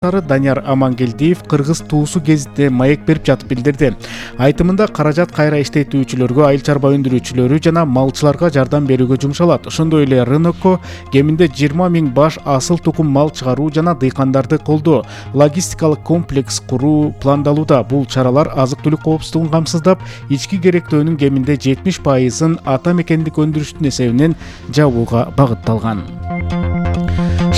Данияр Амангелдиев кыргыз туусу гезитте маек берип жатып билдирди. Айтымында каражат кайра иштетүүчүлөргө, айыл чарба өндүрүүчүлөрү жана малчыларга жардам берүүгө жумшалат. Ошондой эле рынокко кеминде 20 000 баш асыл тукум мал чыгаруу жана дыйкандарды колдоо, логистикалык комплекс куруу пландалууда. Бул чаралар азык-түлүк коопсуздугун камсыздап, ички керектөөнүн кеминде 70%-ын ата мекендик өндүрүштүн эсебинен жабууга багытталган.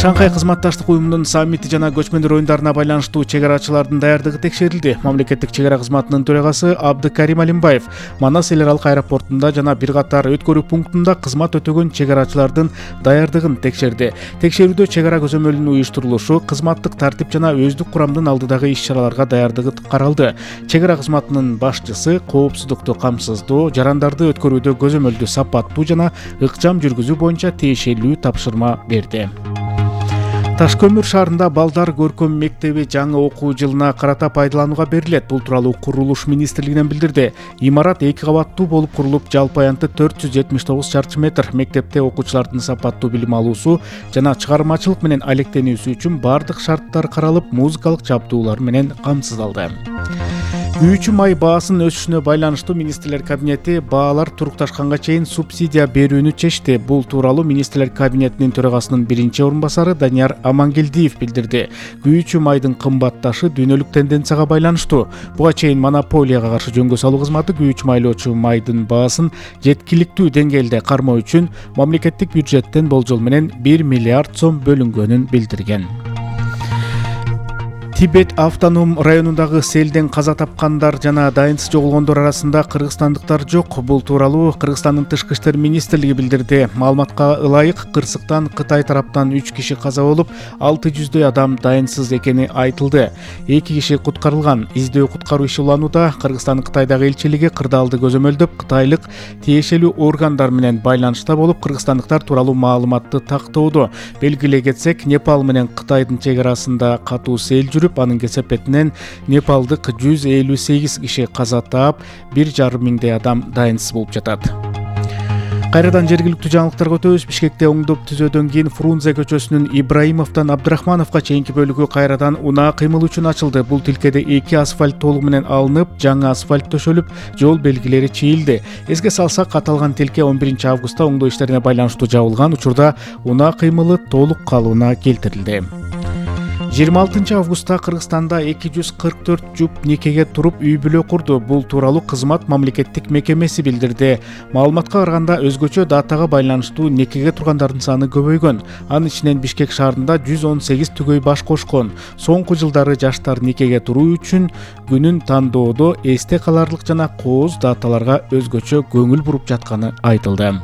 Шанхай кызматташтык уюмунун саммити жана көчмөндөр оюндарына байланыштуу чек арачылардын даярдыгы текшерилди. Мамлекеттик чек ара кызматынын төрагасы Абдыкарим Алимбаев Манас эл аралык аэропортунда жана бир катар өткөрүү пунктунда кызмат өтөгөн чек арачылардын даярдыгын текшерди. Текшерүүдө чек ара көзөмөлүнүн уюштурулушу, кызматтык тартип жана өздүк курамдын алдыдагы иш-чараларга даярдыгы каралды. Чек ара кызматынын башчысы коопсуздукту камсыздоо, жарандарды өткөрүүдө көзөмөлдү сапаттуу жана ыкчам жүргүзүү боюнча тиешелүү тапшырма берди. Таш көмүр шаарында балдар көркөм мектеби жаңы окуу жылына карата пайдаланууга берилет. Бул тууралуу курулуш министрлигинен билдирди. Имарат 2 кабаттуу болуп курулуп, жалпы аянты 479 чарчы метр. Мектепте окуучулардын сапаттуу билим алуусу жана чыгармачылык менен алектенүүсү үчүн бардык шарттар каралып, музыкалык жабдуулар менен камсыздалды. Күйүүчү май баасынын өсүшүнө байланыштуу министрлер кабинети баалар турукташканга чейин субсидия берүүнү чечти. Бул тууралуу министрлер кабинетинин төрагасынын биринчи орун басары Данияр Амангелдиев билдирди. Күйүүчү майдын кымбатташы дүйнөлүк тенденцияга байланыштуу. Буга чейин монополияга каршы жөнгө салуу кызматы күйүүчү майлоочу майдын баасын жеткиликтүү деңгээлде кармоо үчүн мамлекеттик бюджеттен болжол менен 1 миллиард сом бөлүнгөнүн билдирген. Тибет автоном районундагы селден каза тапкандар жана дайынсыз жоголгондор арасында кыргызстандыктар жок. Бул тууралуу Кыргызстандын тышкы иштер министрлиги билдирди. Маалыматка ылайык, кырсыктан Кытай тараптан 3 киши каза болуп, 600дөй адам дайынсыз экени айтылды. 2 киши куткарылган. Издөө куткаруу иши уланууда. Кыргызстандын Кытайдагы элчилиги кырдаалды көзөмөлдөп, кытайлык тиешелүү органдар менен байланышта болуп, кыргызстандыктар тууралуу маалыматты тактоодо. Белгилей кетсек, Непал менен Кытайдын чек арасында катуу сел жүрүп, анын кесепетинен Непалдык 158 киши каза таап, 1,5 миңдей адам дайынсыз болуп жатат. Кайрадан жергиликтүү жаңылыктарга өтөбүз. Бишкекте оңдоп түзөөдөн кийин Фрунзе көчөсүнүн Ибраимовдон Абдрахмановго чейинки бөлүгү кайрадан унаа кыймыл үчүн ачылды. Бул тилкеде 2 асфальт толугу менен алынып, жаңы асфальт төшөлүп, жол белгилери чийилди. Эске салсак, аталган тилке 11 августта оңдоо иштерине байланыштуу жабылган учурда унаа кыймылы толук калыбына келтирилди. 26 августта Кыргызстанда 244 жуп никеге туруп үй бүлө курду. Бул тууралуу кызмат мамлекеттик мекемеси билдирди. Маалыматка караганда, өзгөчө датага байланыштуу никеге тургандардын саны көбөйгөн. Анын ичинен Бишкек шаарында 118 түгөй баш кошкон. Соңку жылдары жаштар никеге туруу үчүн күнүн тандоодо эсте каларлык жана кооз даталарга өзгөчө көңүл буруп жатканы айтылды.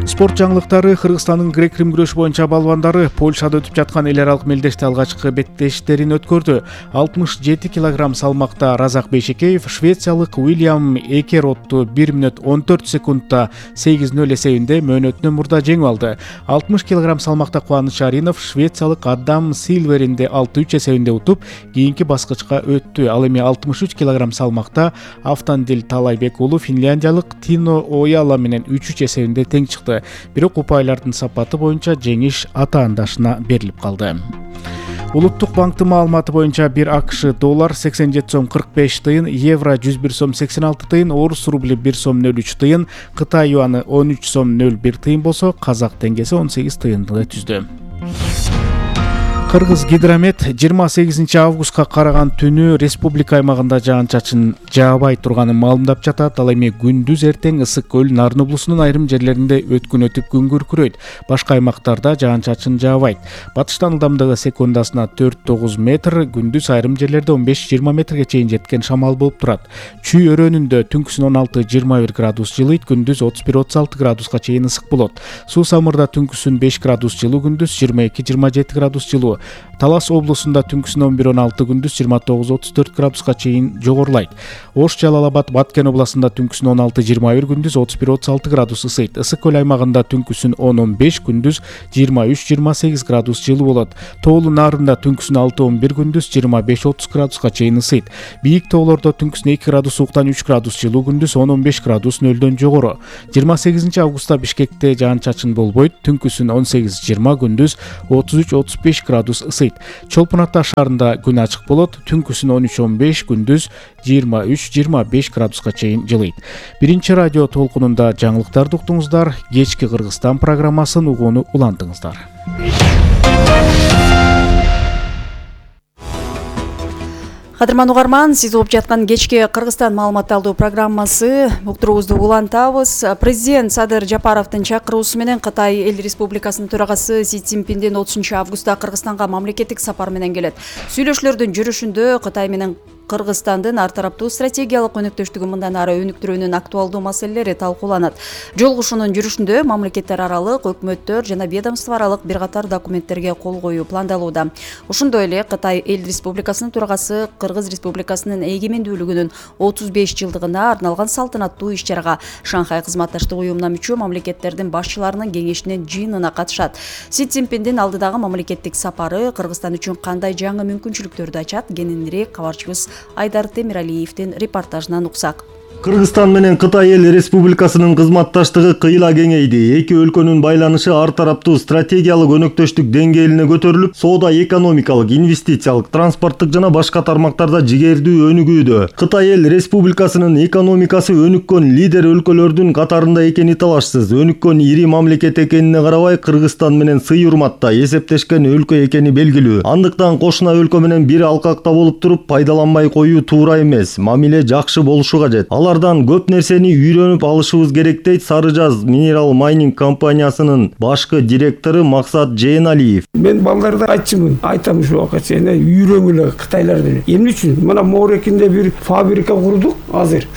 Спорт жаңылыктары. Кыргызстандын грек-рим күрөшү боюнча балбандары Польшада өтүп жаткан эл аралык мелдеште алгачкы беттештерин өткөрдү. 67 кг салмакта Разак Бейшекеев швециялык Уильям Экеротту 1 мүнөт 14 секундта 8-0 эсебинде мөөнөтүнөн мурда жеңип алды. 60 кг салмакта Кубаныч Аринов швециялык Адам Силверинди 6-3 эсебинде утуп, кийинки баскычка өттү. Ал эми 63 кг салмакта Автандил Талайбек уулу финляндиялык Тино Ояла менен 3-3 эсебинде тең чыкты. Бирок упайлардын сапаты боюнча жеңиш атаандашына берилип калды. Улуттук банктын маалыматы боюнча 1 АКШ доллар 87 сом 45 тыйын, евро 101 сом 86 тыйын, орус рубли 1 сом 03 тыйын, Кытай юаны 13 сом 01 тыйын болсо, казак теңгеси 18 тыйынды түздү. Кыргыз гидромет 28 августка караган түнү республика аймагында жаан-чачын жаабай турганын маалымдап жатат. Ал эми күндүз эртең Ысык көл, Нарын облусунун айрым жерлеринде өткүн өтүп күн күркүрөйт. Башка аймактарда жаан-чачын жаабайт. Батыштан ылдамдыгы секундасына 4-9 метр, күндүз айрым жерлерде 15-20 метрге чейин жеткен шамал болуп турат. Чүй өрөөнүндө түнкүсүн 16-21 градус жылыйт, күндүз 31-36 градуска чейин ысык болот. Суу самырда түнкүсүн 5 градус жылуу, күндүз 22-27 градус жылуу. Талас облусунда түнкүсүн 11-16, күндүз 29-34 градуска чейин жогорулайт. Ош, Жалал-Абад, Баткен областында түнкүсүн 16-21, күндүз 31-36 градус ысыйт. Ысык көл аймагында түнкүсүн 10-15, күндүз 23-28 градус жылуу болот. Тоолу Нарында түнкүсүн 6-11, күндүз 25-30 градуска чейин ысыйт. Бийик тоолордо түнкүсүн 2 градус ууктан 3 градус жылуу, күндүз 10-15 градус нөлдөн жогору. 28 августта Бишкекте жаан-чачын болбойт, түнкүсүн 18-20, күндүз 33-35 градус градус ысыйт. Чолпон Ата шаарында күн ачык болот. Түнкүсүн 13-15, күндүз 23-25 градуска чейин жылыйт. Биринчи радио толкунунда жаңылыктарды уктуңуздар. Кечки Кыргызстан программасын угууну улантыңыздар. Кадырман угарман, сиз угуп жаткан кечки Кыргызстан маалымат алуу программасы уктуруубузду улантабыз. Президент Садыр Жапаровдун чакыруусу менен Кытай Эл Республикасынын төрагасы Си Цзиньпиндин 30-августта Кыргызстанга мамлекеттик сапар менен келет. Сүйлөшүүлөрдүн жүрүшүндө Кытай менен Кыргызстандын ар тараптуу стратегиялык өнөктөштүгүн мындан ары өнүктүрүүнүн актуалдуу маселелери талкууланат. Жолугушуунун жүрүшүндө мамлекеттер аралык, өкмөттөр жана ведомство аралык бир катар документтерге кол коюу пландалууда. Ошондой эле Кытай Эл Республикасынын төрагасы Кыргыз Республикасынын эгемендүүлүгүнүн 35 жылдыгына арналган салтанаттуу иш-чарага Шанхай кызматташтык уюмуна мүчө мамлекеттердин башчыларынын кеңешинин жыйынына катышат. Си Цзиньпиндин алдыдагы мамлекеттик сапары Кыргызстан үчүн кандай жаңы мүмкүнчүлүктөрдү ачат? Кененирээк кабарчыбыз Айдар Темиралиевдин репортажынан уксак. Кыргызстан менен Кытай Эл Республикасынын кызматташтыгы кыйла кеңейди. Эки өлкөнүн байланышы ар тараптуу стратегиялык өнөктөштүк деңгээлине көтөрүлүп, соода, экономикалык, инвестициялык, транспорттук жана башка тармактарда жигердүү өнүгүүдө. Кытай Эл Республикасынын экономикасы өнүккөн лидер өлкөлөрдүн катарында экени талашсыз. Өнүккөн ири мамлекет экенине карабай, Кыргызстан менен сый урматта эсептешкен өлкө экени белгилүү. Андыктан кошуна өлкө менен бир алкакта болуп туруп, пайдаланбай коюу туура эмес. Мамиле жакшы болушу кажет. Алардан көп нерсени үйрөнүп алышыбыз керек, дейт Сары Жаз Mineral Mining компаниясынын башкы директору Максат Жээналиев. Мен балдарга айтам ушу убакка чейин үйрөнгүлө Кытайлардан. Эмне үчүн? Мына Моорекинде бир фабрика курдук азыр.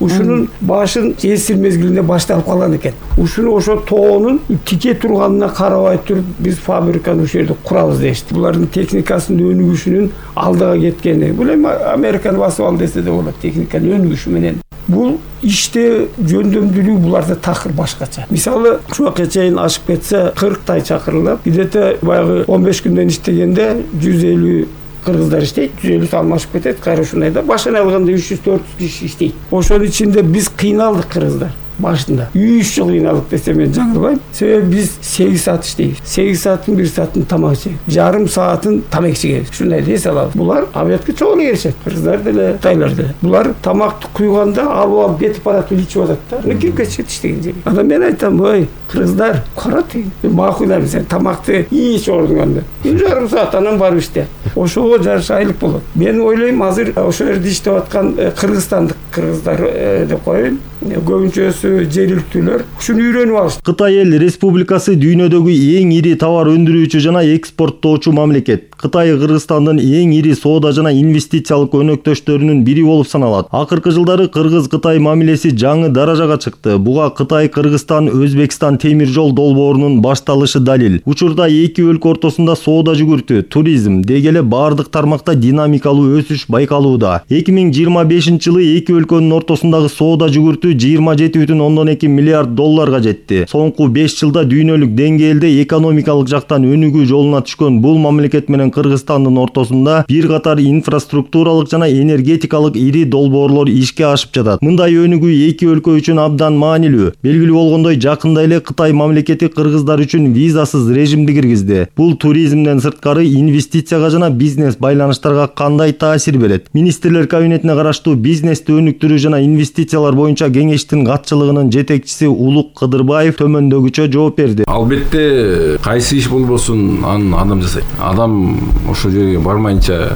Ушунун башын жесир мезгилинде башталып калган экен. Ушуну ошо тоонун тике турганына карабай туруп биз фабриканы ошол жерде курабыз дешти. Булардын техникасынын өнүгүшүнүн алдыга кеткени. Бул эми Американы басып ал десе да болот, техниканын өнүгүшү менен. Бул иште жөндөмдүүлүгү буларда такыр башкача. Мисалы, ушуга чейин ашып кетсе 40 тай чакырылып, где-то баягы 15 күндөн иштегенде 150 кыргыздар иштейт, 150 алмашып кетет, кайра ушундайда башына алганда 300-400 киши иштейт. Ошонун ичинде биз кыйналдык кыргыздар. Башында 3 жыл кыйналып десем мен жаңылбайм. Себеби биз 8 саат иштейбиз. 8 сааттын 1 саатын тамак жейбиз. Жарым саатын тамак жейбиз. Ушундай десе алабыз. Булар обедке чогуу келишет. Кыргыздар деле, Кытайлар деле. Булар тамакты куйганда алып кетип барат, ичип атат да. Кирип кетишет иштеген жерге. Анда мен айтам, ой, кыргыздар, карат. Макулдайм, сен тамакты ич ордуңанда. 1 жарым саат анан барып иште. Ошого жараша айлык болот. Мен ойлойм, азыр ошол жерде иштеп аткан кыргызстандык кыргыздар деп коеюн. Көбүнчөсү жергиликтүүлөр ушуну үйрөнүп алышты. Кытай Эл Республикасы дүйнөдөгү эң ири товар өндүрүүчү жана экспорттоочу мамлекет. Кытай Кыргызстандын эң ири соода жана инвестициялык өнөктөштөрүнүн бири болуп саналат. Акыркы жылдары Кыргыз-Кытай мамилеси жаңы даражага чыкты. Буга Кытай, Кыргызстан, Өзбекстан темир жол долбоорунун башталышы далил. Учурда эки өлкө ортосунда соода жүгүртүү, туризм, деги эле бардык тармакта динамикалуу өсүш байкалууда. 2025 жылы эки өлкөнүн ортосундагы соода жүгүртүү 27,2 миллиард долларга жетти. Соңку 5 жылда дүйнөлүк деңгээлде экономикалык жактан өнүгүү жолуна түшкөн бул мамлекет менен Кыргызстандын ортосунда бир катар инфраструктуралык жана энергетикалык ири долбоорлор ишке ашып жатат. Мындай өнүгүү эки өлкө үчүн абдан маанилүү. Белгилүү болгондой, жакында эле Кытай мамлекети кыргыздар үчүн визасыз режимди киргизди. Бул туризмден сырткары инвестицияга жана бизнес байланыштарга кандай таасир берет? Министрлер кабинетине караштуу бизнести өнүктүрүү жана инвестициялар боюнча кеңештин катчылыгынын жетекчиси Улук Кыдырбаев төмөндөгүчө жооп берди. Албетте, кайсы иш болбосун, аны адам жасайт. Адам ошол жерге бармайынча,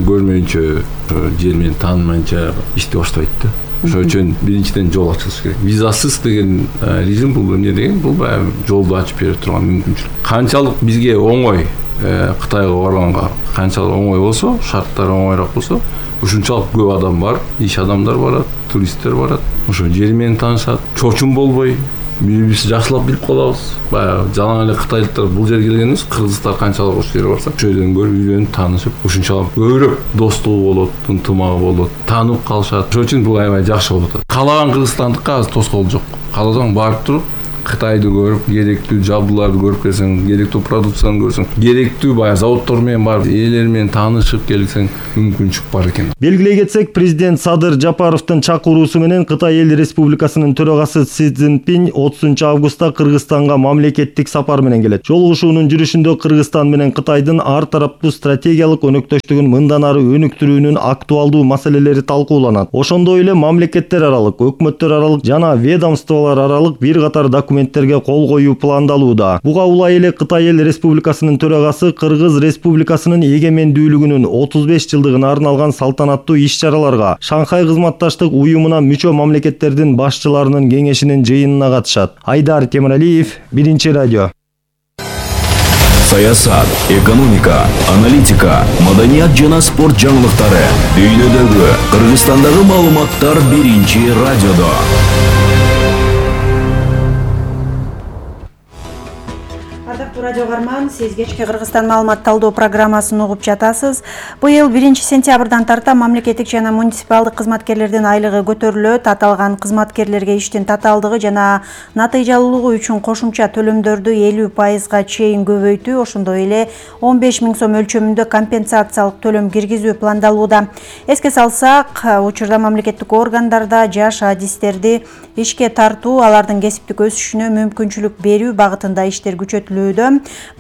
көрмөйүнчө, жер менен таанымайынча иштеп баштабайт да. Ошол үчүн биринчиден жол ачылыш керек. Визасыз деген режим бул эмне деген? Бул баягы жолду ачып бере турган мүмкүнчүлүк. Канчалык бизге оңой Кытайга барганга, канчалык оңой болсо, шарттары оңойрак болсо, ушунчалык көп адам бар, иш адамдар барат, туристтер барат. Ошо жер менен таанышат, чочун болбой, бири-бирибизди жакшылап билип калабыз. Баягы жалаң эле кытайлыктар бул жерге келген эмес, кыргыздар канчалык ошол жерге барса, ошол жерден көрүп үйрөнүп, таанышып, ушунчалык көбүрөөк достугу болот, ынтымагы болот, таанып калышат. Ошол үчүн бул аябай жакшы болуп атат. Каалаган кыргызстандыкка азыр тоскоол жок. Кааласаң барып туруп, Кытайды көрүп, керектүү жабдууларды көрүп келсең, керектүү продукцияны көрсөң, керектүү баягы заводдор менен барып, ээлер менен таанышып келсең, мүмкүнчүлүк бар экен. Белгилей кетсек, президент Садыр Жапаровдун чакыруусу менен Кытай Эл Республикасынын төрагасы Си Цзиньпин 30 августта Кыргызстанга мамлекеттик сапар менен келет. Жолугушуунун жүрүшүндө Кыргызстан менен Кытайдын ар тараптуу стратегиялык өнөктөштүгүн мындан ары өнүктүрүүнүн актуалдуу маселелери талкууланат. Ошондой эле мамлекеттер аралык, өкмөттөр аралык жана ведомстволор аралык бир катар документтерге кол коюу пландалууда. Буга улай эле Кытай Эл Республикасынын төрагасы Кыргыз Республикасынын эгемендүүлүгүнүн 35 жылдыгына арналган салтанаттуу иш-чараларга Шанхай кызматташтык уюмуна мүчө мамлекеттердин башчыларынын кеңешинин жыйынына катышат. Айдар Темиралиев, Биринчи радио. Саясат, экономика, аналитика, маданият жана спорт жаңылыктары. Дүйнөдөгү, Кыргызстандагы маалыматтар Биринчи радиодо. Радио Гарман, сиз кечки Кыргызстан маалымат талдоо программасын угуп жатасыз. Быйыл 1-сентябрдан тарта мамлекеттик жана муниципалдык кызматкерлердин айлыгы көтөрүлөт. Аталган кызматкерлерге иштин татаалдыгы жана натыйжалуулугу үчүн кошумча төлөмдөрдү 50%га чейин көбөйтүү, ошондой эле 15 000 сом өлчөмүндө компенсациялык төлөм киргизүү пландалууда. Эске салсак, учурда мамлекеттик органдарда жаш адистерди ишке тартуу, алардын кесиптик өсүшүнө мүмкүнчүлүк берүү багытында иштер күчөтүлүүдө.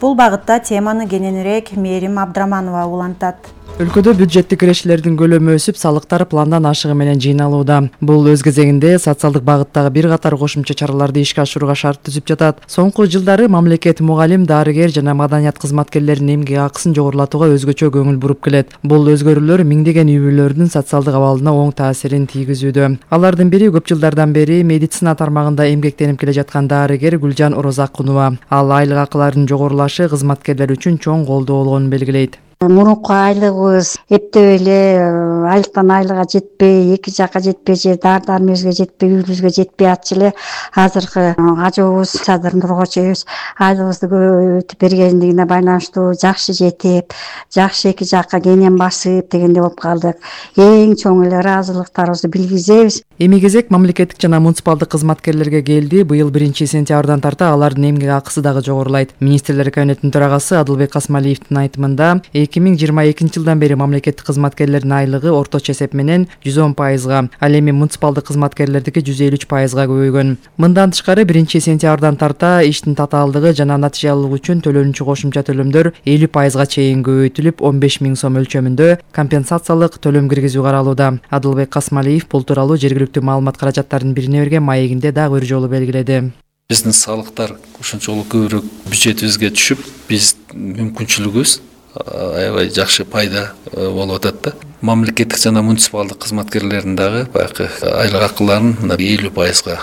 Бул багытта теманы кененирээк Мээрим Абдраманова улантат. Өлкөдө бюджеттик кирешилердин көлөмү өсүп, салыктар пландан ашыгы менен жыйналууда. Бул өз кезегинде социалдык багыттагы бир катар кошумча чараларды ишке ашырууга шарт түзүп жатат. Соңку жылдары мамлекет мугалим, дарыгер жана маданият кызматкерлеринин эмгек акысын жогорулатууга өзгөчө көңүл буруп келет. Бул өзгөрүүлөр миңдеген үй бүлөлөрдүн социалдык абалына оң таасирин тийгизүүдө. Алардын бири көп жылдардан бери медицина тармагында эмгектенип келе жаткан дарыгер Гүлжан Орозакунова. Ал айлык акылардын жогорулашы кызматкерлер үчүн чоң колдоо болгонун белгилейт. Мурунку айлыгыбыз эптеп эле айлыктан айлыга жетпей, эки жакка жетпей же дар-дармебизге жетпей, үйүбүзгө жетпей атчы эле. Азыркы ажообуз Садыр Нургочу эбиз айлыгыбызды көбөйтүп бергендигине байланыштуу жакшы жетип, жакшы эки жакка кенен басып дегенде болуп калдык. Эң чоң эле ыраазылыктарыбызды билгизебиз. Эми кезек мамлекеттик жана муниципалдык кызматкерлерге келди. Быйыл 1-сентябрдан тарта алардын эмгек акысы дагы жогорулайт. Министрлер кабинетинин төрагасы Адылбек Касмалиевдин айтымында 2022 жылдан бери мамлекеттик кызматкерлердин айлыгы орточо эсеп менен 110%, ал эми муниципалдык кызматкерлердики 153%га көбөйгөн. Мындан тышкары 1-сентябрдан тарта иштин татаалдыгы жана натыйжалуулугу үчүн төлөнүүчү кошумча төлөмдөр 50%га чейин көбөйтүлүп, 15 000 сом өлчөмүндө компенсациялык төлөм киргизүү каралууда. Адылбек Касмалиев бул тууралуу жергиликтүү маалымат каражаттарынын бирине берген маегинде дагы бир жолу белгиледи. Биздин салыктар ушунчолук көбүрөөк бюджетибизге түшүп, биз мүмкүнчүлүгүбүз аябай жакшы пайда болуп атат да. Мамлекеттик жана муниципалдык кызматкерлердин дагы баягы айлык акыларын 50%га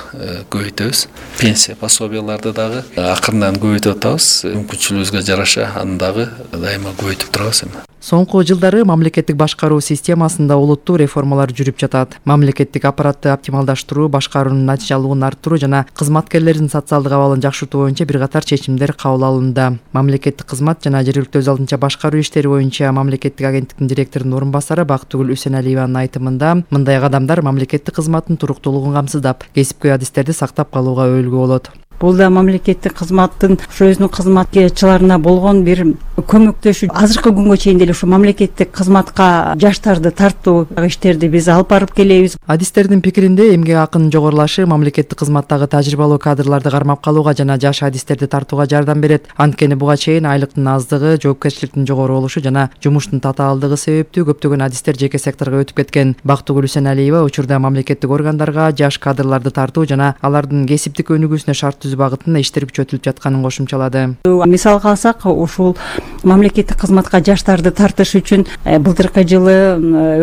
көбөйтөбүз. Пенсия пособияларды дагы акырындан көбөйтүп атабыз. Мүмкүнчүлүгүбүзгө жараша аны дагы дайыма көбөйтүп турабыз эми. Соңку жылдары мамлекеттик башкаруу системасында олуттуу реформалар жүрүп жатат. Мамлекеттик аппаратты оптималдаштыруу, башкаруунун натыйжалуулугун арттыруу жана кызматкерлердин социалдык абалын жакшыртуу боюнча бир катар чечимдер кабыл алынды. Мамлекеттик кызмат жана жергиликтүү өз алдынча башкаруу иштери боюнча мамлекеттик агенттиктин директорунун орун басары Бактыгүл Үсеналиеванын айтымында, мындай кадамдар мамлекеттик кызматтын туруктуулугун камсыздап, кесипкөй адистерди сактап калууга өбөлгө болот. Бул да мамлекеттик кызматтын өзүнүн кызматкерлерчиларына болгон бир көмөктөшүү. Азыркы күнгө чейин деле ушу мамлекеттик кызматка жаштарды тартуу иштерди биз алып барып келебиз. Адистердин пикиринде эмгек акынын жогорулашы мамлекеттик кызматтагы тажрыйбалуу кадрларды кармап калууга жана жаш адистерди тартууга жардам берет. Анткени буга чейин айлыктын аздыгы, жоопкерчиликтин жогору болушу жана жумуштун татаалдыгы себептүү көптөгөн адистер жеке секторго өтүп кеткен. Бактыгүл Үсеналиева учурда мамлекеттик органдарга жаш кадрларды тартуу жана алардын кесиптик өнүгүүсүнө шарт багытында иштер күчөтүлүп жатканын кошумчалады. Мисалга алсак, ушул мамлекеттик кызматка жаштарды тартыш үчүн былтыркы жылы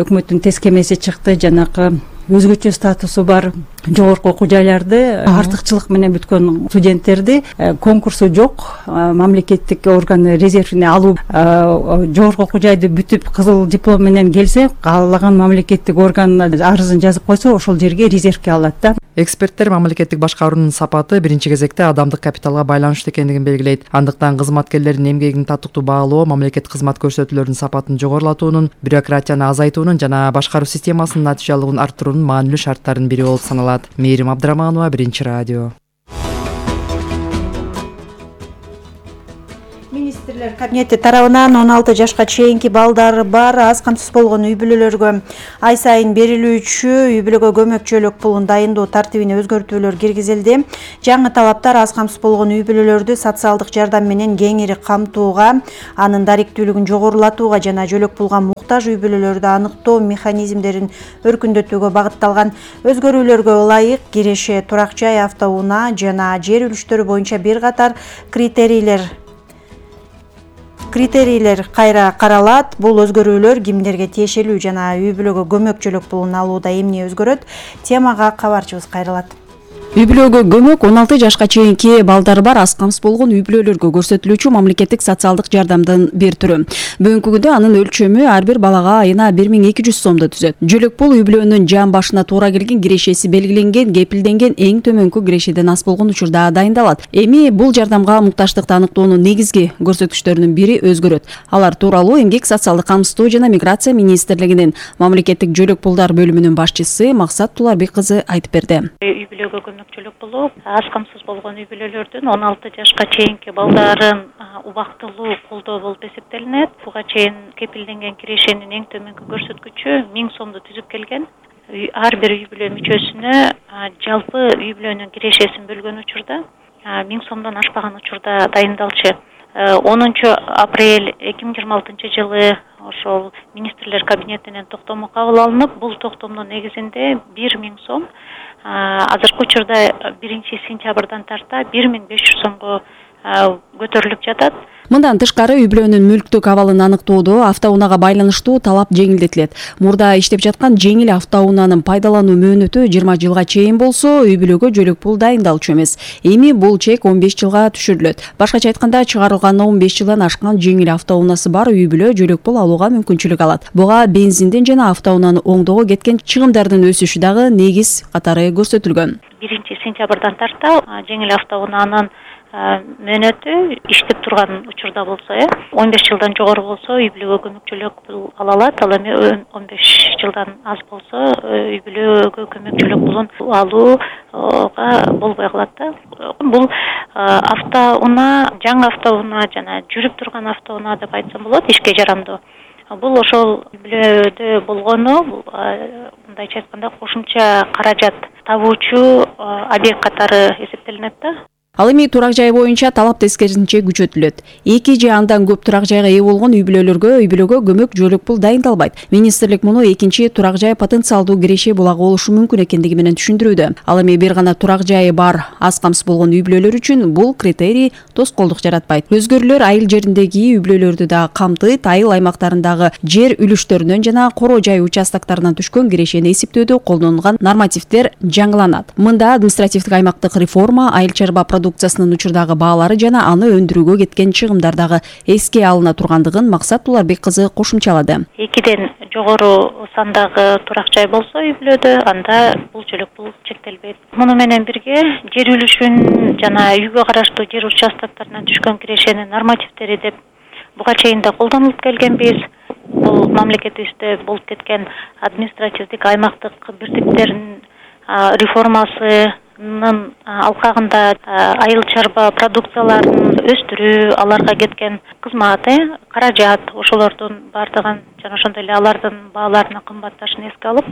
өкмөттүн тест кемеси чыкты. Жанакы өзгөчө статусу бар жогорку окуу жайларды артыкчылык менен бүткөн студенттерди конкурсу жок мамлекеттик орган резервине алуу, жогорку окуу жайды бүтүп кызыл диплом менен келсе, каалаган мамлекеттик орган арызын жазып койсо, ошол жерге резервге алат да. Эксперттер мамлекеттик башкаруунун сапаты биринчи кезекте адамдык капиталга байланыштуу экендигин белгилейт. Андыктан кызматкерлердин эмгегин татыктуу баалоо, мамлекеттик кызмат көрсөтүүлөрдүн сапатын жогорулатуунун, бюрократияны азайтуунун жана башкаруу системасынын натыйжалуулугун арттыруунун маанилүү шарттарынын бири болуп саналат. Мээрим Абдраманова, Биринчи радио. Кабинети тарабынан 16 жашка чейинки балдары бар аз камсыз болгон үй бүлөлөргө ай сайын берилүүчү үй бүлөгө көмөк пулун дайындоо тартибине өзгөртүүлөр киргизилди. Жаңы талаптар аз камсыз болгон үй бүлөлөрдү социалдык жардам менен кеңири камтууга, анын даректүүлүгүн жогорулатууга жана жөлөк пулга муктаж үй бүлөлөрдү аныктоо механизмдерин өркүндөтүүгө багытталган. Өзгөрүүлөргө ылайык киреше, турак жай, автоунаа жана жер үлүштөрү боюнча бир катар критерийлер кайра каралат. Бул өзгөрүүлөр кимдерге тиешелүү жана үй бүлөгө көмөк пулун алууда эмне өзгөрөт? Темага кабарчыбыз кайрылат. Үй бүлөгө көмөк 16 жашка чейинки балдары бар аз камсыз болгон үй бүлөлөргө көрсөтүлүүчү мамлекеттик социалдык жардамдын бир түрү. Бүгүнкү күндө анын өлчөмү ар бир балага айына 1200 сомду түзөт. Жөлөк пул үй бүлөнүн жан башына туура келген кирешеси белгиленген, кепилденген эң төмөнкү кирешеден аз болгон учурда дайындалат. Эми бул жардамга муктаждыкты аныктоонун негизги көрсөткүчтөрүнүн бири өзгөрөт. Алар тууралуу Эмгек социалдык камсыздоо жана миграция министрлигинин мамлекеттик жөлөк пулдар бөлүмүнүн башчысы Максат Туларбек кызы айтып берди. Үй бүлөгө көмөкчүлүк пулу аз камсыз болгон үй бүлөлөрдүн 16 жашка чейинки балдарын убактылуу колдоо болуп эсептелинет. Буга чейин кепилденген кирешенин эң төмөнкү көрсөткүчү 1000 сомду түзүп келген. Ар бир үй бүлө мүчөсүнө жалпы үй бүлөнүн кирешесин бөлгөн учурда 1000 сомдон ашпаган учурда дайындалчу. 10 апрель 2026 жылы ошол министрлер кабинетинен токтому кабыл алынып, бул токтомдун негизинде 1000 сом азыркы учурда 1 сентябрдан тарта 1500 сомго көтөрүлүп жатат. Мындан тышкары үй бүлөнүн мүлктүк абалын аныктоодо автоунаага байланыштуу талап жеңилдетилет. Мурда иштеп жаткан жеңил автоунаанын пайдалануу мөөнөтү 20 жылга чейин болсо, үй бүлөгө жөлөк пул дайындалчу эмес. Эми бул чек 15 жылга түшүрүлөт. Башкача айтканда, чыгарылган 15 жылдан ашкан жеңил автоунаасы бар үй бүлө жөлөк пул алууга мүмкүнчүлүк алат. Буга бензиндин жана автоунааны оңдоого кеткен чыгымдардын өсүшү дагы негиз катары көрсөтүлгөн. 1 сентябрдан тарта жеңил автоунаанын мөөнөтү иштеп турган учурда болсо, 15 жылдан жогору болсо үй бүлөгө көмөкчүлүк пул ала алат. Ал эми 15 жылдан аз болсо үй бүлөгө көмөкчүлүк пулун алууга болбой калат да. Бул автоунаа, жаңы автоунаа жана жүрүп турган автоунаа деп айтсам болот, ишке жарамдуу. Бул ошол үй бүлөдө болгону, мындайча айтканда, кошумча каражат табуучу объект катары эсептелинет да. Ал эми турак жай боюнча талап тескерисинче күчөтүлөт. 2 же андан көп турак жайга ээ болгон үй бүлөгө көмөк жөлөк пул дайындалбайт. Министрлик муну экинчи турак жай потенциалдуу киреше булагы болушу мүмкүн экендиги менен түшүндүрүүдө. Ал эми бир гана турак жайы бар аз камсыз болгон үй бүлөлөр үчүн бул критерий тоскоолдук жаратпайт. Өзгөрүүлөр айыл жериндеги үй бүлөлөрдү да камтыйт. Айыл аймактарындагы жер үлүштөрүнөн жана коро жай участоктарынан түшкөн кирешени эсептөөдө колдонулган нормативдер жаңыланат. Мында административдик аймактык реформа, айыл чарба продукциясынын учурдагы баалары жана аны өндүрүүгө кеткен чыгымдардагы эске алына тургандыгын Максат Туларбек кызы кошумчалады. 2ден жогору сандагы турак жай болсо үй бүлөдө, анда бул жөлөк пул чектелбейт. Муну менен бирге жер үлүшүн жана үйгө караштуу жер участоктарынан түшкөн кирешенин нормативдери деп буга чейин да колдонулуп келгенбиз. Бул мамлекетибизде болуп кеткен административдик аймактык бирдиктердин реформасынын алкагында айыл чарба продукцияларын өстүрүү, аларга кеткен кызмат, каражат, ошолордун бардыгын жана ошондой эле алардын бааларынын кымбатташын эске алып,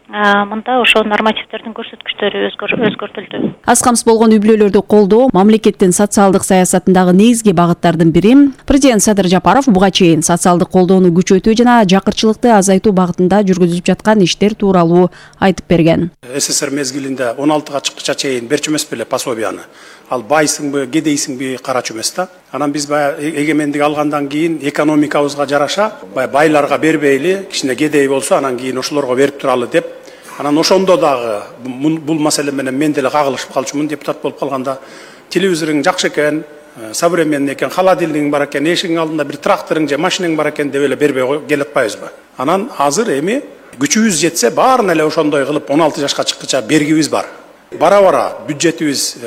мында ошо нормативдердин көрсөткүчтөрү өзгөртүлдү. Аз камсыз болгон үй бүлөлөрдү колдоо мамлекеттин социалдык саясатындагы негизги багыттардын бири. Президент Садыр Жапаров буга чейин социалдык колдоону күчөтүү жана жакырчылыкты азайтуу багытында жүргүзүлүп жаткан иштер тууралуу айтып берген. СССР мезгилинде 16 чыккыча чейин берчү эмес беле пособияны. Ал байсыңбы, кедейсиңби карачу эмес да. Анан биз эгемендик алгандан кийин экономикабызга жараша байларга бербейли, кичине кедей болсо анан кийин ошолорго берип туралы деп. Анан ошондо дагы бул маселе менен мен деле кагылышып калчумун, депутат болуп калганда. Телевизоруң жакшы экен, современный экен, холодильнигиң бар экен, эшигиң алдында бир тракторуң же машинең бар экен деп эле бербей келип атпайбызбы? Анан азыр эми күчүбүз жетсе баарын эле ошондой кылып 16 жашка чыккыча бергибиз бар. Бара-бара бюджетибиз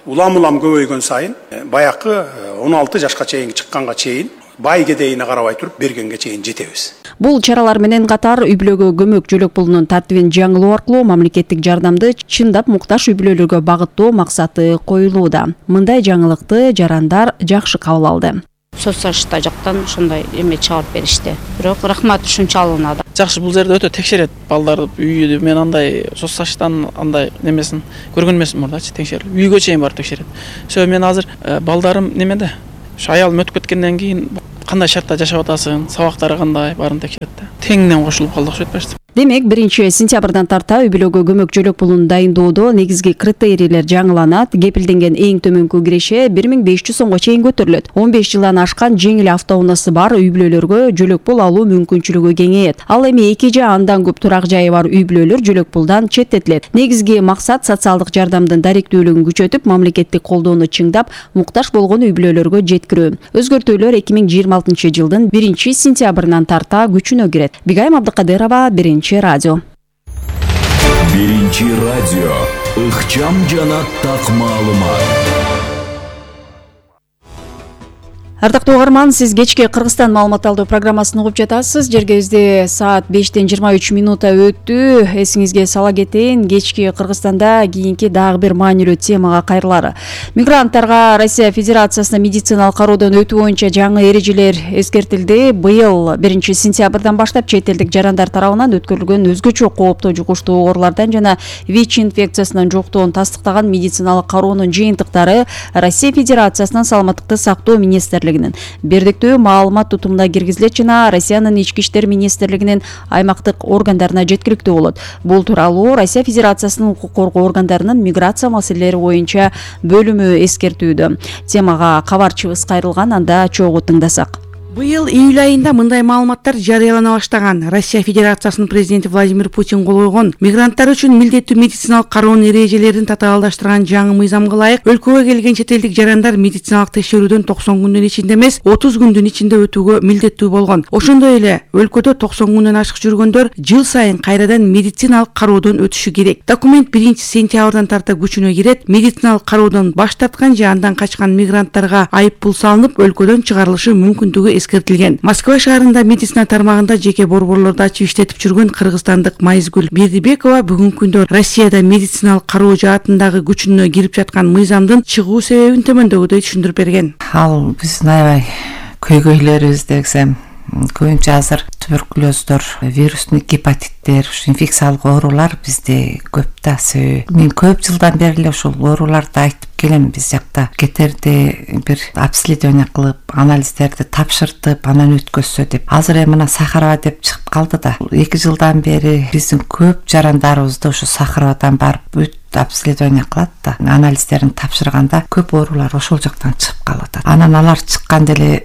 улам көбөйгөн сайын баякы 16 жашка чейин чыкканга чейин бай кедейине карабай туруп бергенге чейин жетебиз. Бул чаралар менен катар үй бүлөгө көмөк жөлөк пулунун тартибин жаңылоо аркылуу мамлекеттик жардамды чындап муктаж үй бүлөлөргө багыттоо максаты коюлууда. Мындай жаңылыкты жарандар жакшы кабыл алды. Соцсашта жактан ошондой эме чыгарып беришти. Бирок рахмат ушунчалыгына да. Жакшы, бул жерде өтө текшерет балдарды, үйдү. Мен андай соцсаштан андай немесин көргөн эмесмин мурдачы, текшерилип. Үйгө чейин барып текшерет. Сөй мен азыр балдарым немеде? Ушу аялым өтүп кеткенден кийин кандай шартта жашап атасың, сабактары кандай баарын текшерет да. Теңинен кошулуп калдык ошо этпешти. Демек, 1-сентябрдан тарта үй бүлөгө көмөк жөлөк пулун дайындоодо негизги критерийлер жаңыланат. Кепилденген эң төмөнкү киреше 1500 сомго чейин көтөрүлөт. 15 жылдан ашкан жеңил автоунаасы бар үй бүлөлөргө жөлөк пул алуу мүмкүнчүлүгү кеңейет. Ал эми 2 же андан көп турак жайы бар үй бүлөлөр жөлөк пулдан четтетилет. Негизги максат социалдык жардамдын даректүүлүгүн күчөтүп, мамлекеттик колдоону чыңдап, муктаж болгон үй бүлөлөргө жеткирүү. Өзгөртүүлөр 2026 жылдын 1-сентябрынан тарта күчүнө кирет. Бигайым Абдыкадырова, радио. Биринчи радио. Ыкчам жана так маалымат. Ардактуу угарман, сиз кечки Кыргызстан маалымат алуу программасын угуп жатасыз. Жергебизде саат 5:23 өттү. Эсиңизге сала кетейин, кечки Кыргызстанда кийинки дагы бир маанилүү темага кайрылары. Мигранттарга Россия Федерациясына медициналык кароодон өтүү боюнча жаңы эрежелер эскертилди. Быйыл 1-сентябрдан баштап чет элдик жарандар тарабынан өткөрүлгөн өзгөчө кооптуу жугуштуу оорулардан жана ВИЧ инфекциясынан жоктугун тастыктаган медициналык кароонун жыйынтыктары Россия Федерациясынын саламаттыкты сактоо министрлигинин бердиктүү маалымат тутумуна киргизилет жана Россиянын ички иштер министрлигинин аймактык органдарына жеткиликтүү болот. Бул тууралуу Россия Федерациясынын укук коргоо органдарынын миграция маселелери боюнча бөлүмү эскертүүдө. Темага кабарчыбыз кайрылган, анда чогуу тыңдасак. Быйыл июль айында мындай маалыматтар жарыялана баштаган. Россия Федерациясынын президенти Владимир Путин кол койгон мигранттар үчүн милдеттүү медициналык кароонун эрежелерин татаалдаштырган жаңы мыйзамга ылайык өлкөгө келген чет элдик жарандар медициналык текшерүүдөн 90 күндүн ичинде эмес, 30 күндүн ичинде өтүүгө милдеттүү болгон. Ошондой эле өлкөдө 90 күндөн ашык жүргөндөр жыл сайын кайрадан медициналык кароодон өтүшү керек. Документ 1-сентябрдан тарта күчүнө кирет. Медициналык кароодон баш тарткан же андан качкан мигранттарга айып пул салынып, өлкөдөн чыгарылышы мүмкүндүгү эскертилген. Москва шаарында медицина тармагында жеке борборлорду ачып иштетип жүргөн кыргызстандык Майзгүл Бердибекова бүгүнкү күндө Россияда медициналык кароо жаатындагы күчүнө кирип жаткан мыйзамдын чыгуу себебин төмөндөгүдөй түшүндүрүп берген. Ал биздин аябай көйгөйлөрүбүз десем, көбүнчө азыр туберкулездор, вирустук гепатиттер, инфекциялык оорулар бизде көп да. Мен көп жылдан бери эле ушул ооруларды айтып келем. Биз жакта кетерде бир обследование кылып, анализдерди тапшыртып, анан өткөзсө деп. Азыр эми мына Сахарова деп чыгып калды да. 2 жылдан бери биздин көп жарандарыбызды ушу Сахаровадан барып обследование кылат да. Анализдерин тапшырганда көп оорулар ошол жактан чыгып калып атат. Анан алар чыкканда эле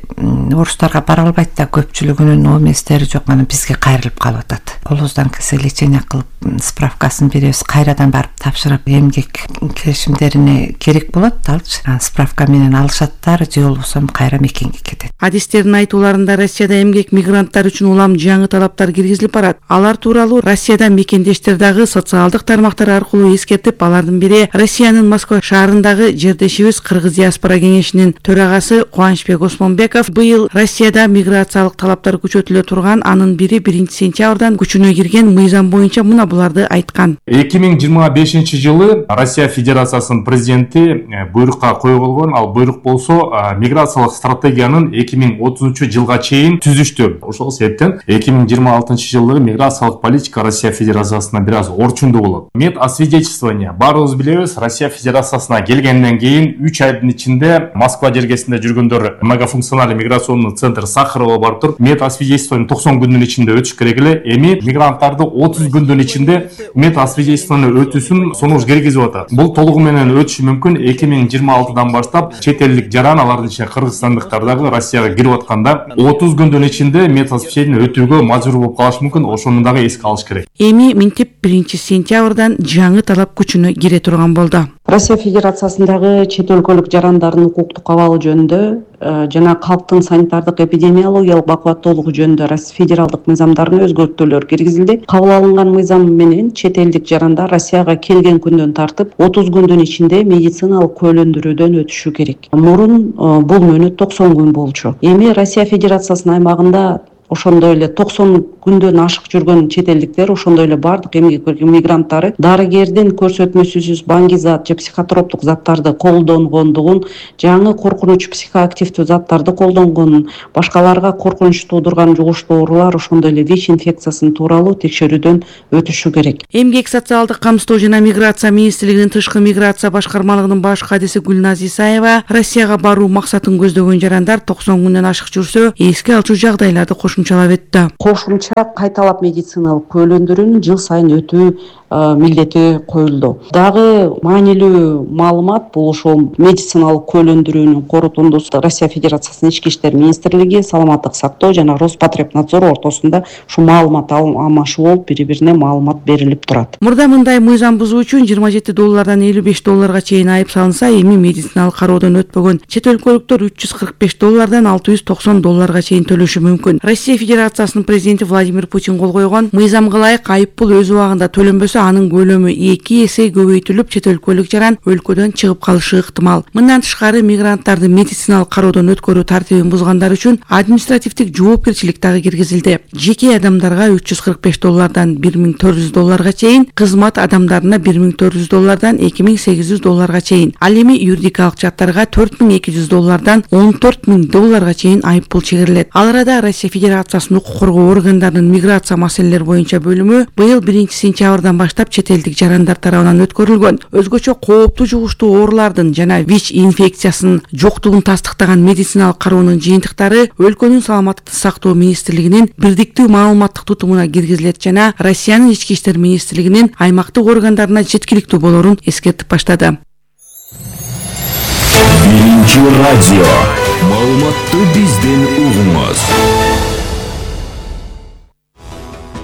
орустарга бара албайт да, көпчүлүгүнүн ооместери жок, анан бизге кайрылып калып атат. Колубуздан келсе лечение кылып, справкасын беребиз, кайрадан барып тапшырып, эмгек келишимдерине керек болот, алчы. Справка менен алышаттар, же болбосо кайра мекенге кетет. Адистердин айтууларында Россияда эмгек мигранттар үчүн улам жаңы талаптар киргизилип барат. Алар тууралуу Россияда мекендештер дагы социалдык тармактар аркылуу эскертип, алардын бири Россиянын Москва шаарындагы жердешибиз Кыргыз диаспора кеңешинин төрагасы Кубанычбек Осмонбеков быйыл Россияда миграциялык талаптар күчөтүлө турган, анын бири 1-сентябрдан күчүнө кирген мыйзам боюнча мына буларды айткан. 2025 жылы Россия Федерациясынын президенти буйрукка койгон. Ал буйрук болсо миграциялык стратегиянын 2030 жылга чейин түзүштү. Ошол себептен 2026 жылдагы миграциялык политика Россия Федерациясына бир аз орчундуу болот. Мед освидетельствование. Баарыбыз билебиз, Россия Федерациясына келгенден кийин 3 айдын ичинде Москва жергесинде жүргөндөр многофункциональный миграционный центр Сахарова барып туруп, мед освидетельствование 90 күндүн ичинде өтүш керек эле. Эми мигранттарды 30 күндүн ичинде мед освидетельствование өтүүсүн сунуш киргизип атат. Бул толугу менен өтүшү мүмкүн 2026 баштап чет элдик жаран, алардын ичинде кыргызстандыктар дагы Россияга кирип атканда 30 күндүн ичинде мед освидетельствование өтүүгө мажбур болуп калышы мүмкүн. Ошону дагы эске алыш керек. Эми минтип 1-сентябрдан жаңы талап күчүнө кире турган болду. Россия Федерациясындагы чет өлкөлүк жарандардын укуктук абалы жөнүндө жана калктын санитардык эпидемиологиялык бакубаттуулугу жөнүндө Россия федералдык мыйзамдарына өзгөртүүлөр киргизилди. Кабыл алынган мыйзам менен чет элдик жарандар Россияга келген күндөн тартып 30 күндүн ичинде медициналык көөлөндүрүүдөн өтүшү керек. Мурун бул мөөнөт 90 күн болчу. Эми Россия Федерациясынын аймагында ошондой эле 90 күндөн ашык жүргөн чет элдиктер, ошондой эле бардык эмгек мигранттары дарыгердин көрсөтмөсүсүз баңгизат же психотроптук заттарды колдонгондугун, жаңы коркунуч психоактивдүү заттарды колдонгонун, башкаларга коркунуч туудурган жугуштуу оорулар, ошондой эле ВИЧ инфекциясын тууралуу текшерүүдөн өтүшү керек. Эмгек социалдык камсыздоо жана миграция министрлигинин тышкы миграция башкармалыгынын баш кадиси Гүлназ Исаева Россияга баруу максатын көздөгөн жарандар 90 күндөн ашык жүрсө, эске алчу жагдайларды кошумчалап өттү. Кошумча кайталап медициналык көйлөндүрүүнү жыл сайын өтүү милдети коюлду. Дагы маанилүү маалымат бул ошол медициналык көйлөндүрүүнүн корутундусу Россия Федерациясынын Ички иштер министрлиги, саламаттык сактоо жана Роспотребнадзор ортосунда ушу маалымат алмашуу болуп, бири-бирине маалымат берилип турат. Мурда мындай мыйзам бузуу үчүн $27 $55 чейин айып салынса, эми медициналык кароодон өтпөгөн чет өлкөлүктөр $345 $690 чейин төлөшү мүмкүн. Россия Федерациясынын президенти Владимир Путин кол койгон мыйзамга ылайык айыппул өз убагында төлөнбөсө, анын көлөмү 2 эсе көбөйтүлүп, чет өлкөлүк жаран өлкөдөн чыгып калышы ыктымал. Мындан тышкары мигранттарды медициналык кароодон өткөрүү тартибин бузгандар үчүн административдик жоопкерчилик дагы киргизилди. Жеке адамдарга $345 $1400 чейин, кызмат адамдарына $1400 $2800 чейин, ал эми юридикалык жаттарга $4200 $14000 чейин айыппул чегерилет. Ал арада Россия Федерациясынын укук коргоо органдарынын миграция маселелери боюнча бөлүмү быйыл 1-сентябрдан баштап чет элдик жарандар тарабынан өткөрүлгөн өзгөчө кооптуу жугуштуу оорулардын жана ВИЧ инфекциясынын жоктугун тастыктаган медициналык кароонун жыйынтыктары өлкөнүн саламаттыкты сактоо министрлигинин бирдиктүү маалыматтык тутумуна киргизилет жана Россиянын ички иштер министрлигинин аймактык органдарына жеткиликтүү болорун эскертип баштады. Биринчи радио маалыматты бизден угуңуз.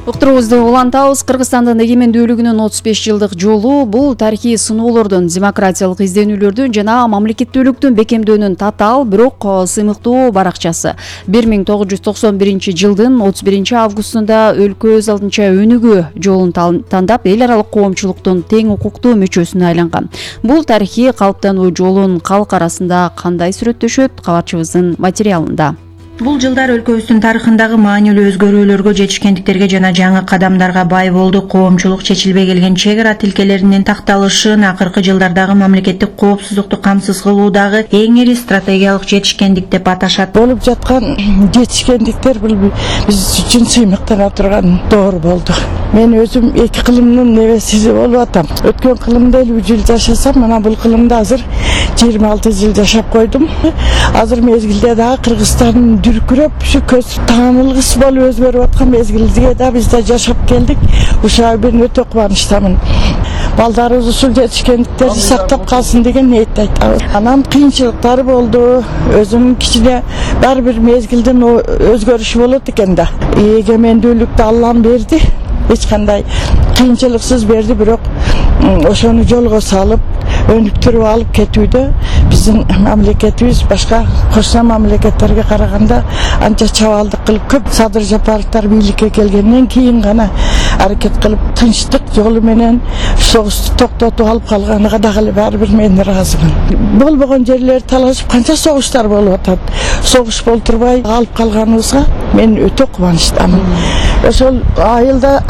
Уктуруубузду улантабыз. Кыргызстандын эгемендүүлүгүнүн 35 жылдык жолу бул тарыхый сыноолордун, демократиялык изденүүлөрдүн жана мамлекеттүүлүктүн бекемдөөнүн татаал, бирок сыймыктуу баракчасы. 1991 жылдын 31 августунда өлкө өз алдынча өнүгүү жолун тандап, эл аралык коомчулуктун тең укуктуу мүчөсүнө айланган. Бул тарыхый калыптануу жолун калк арасында кандай сүрөттөшөт? Кабарчыбыздын материалында. Бул жылдар өлкөбүздүн тарыхындагы маанилүү өзгөрүүлөргө, жетишкендиктерге жана жаңы кадамдарга бай болду. Коомчулук чечилбей келген чек ара тилкелеринин такталышын, акыркы жылдардагы мамлекеттик коопсуздукту камсыз кылуудагы эң ири стратегиялык жетишкендик деп аташат. Болуп жаткан жетишкендиктер бул биз үчүн сыймыктана турган доор болду. Мен өзүм эки кылымдын небеси болуп атам. Өткөн кылымда 50 жыл жашасам, мына бул кылымда азыр 26 жыл жашап койдум. Азыр мезгилде дагы Кыргызстандын дүркүрөп, ушу көз таанылгыс болуп өзгөрүп аткан мезгилде да биз да жашап келдик. Ушуга мен өтө кубанычтамын. Балдарыбыз ушул жетишкендиктерди сактап калсын деген ниетте айтабыз. Анан кыйынчылыктар болду. Өзүм кичине бар бир мезгилдин өзгөрүшү болот экен да. Эгемендүүлүктү Аллам берди. Эч кандай кыйынчылыксыз берди, бирок ошону жолго салып, өнүктүрүп алып кетүүдө биздин мамлекетибиз башка кошсо мамлекеттерге караганда анча чабалдык кылып, көп Садыр Жапаровдор бийликке келгенден кийин гана аракет кылып, тынчтык жолу менен согушту токтотуп алып калганыга дагы баары бир мен ыраазымын. Болбогон жерлер талашып, канча согуштар болуп атат. Согуш болтурбай алып калганыбызга мен өтө кубанычтамын. Ошол айылда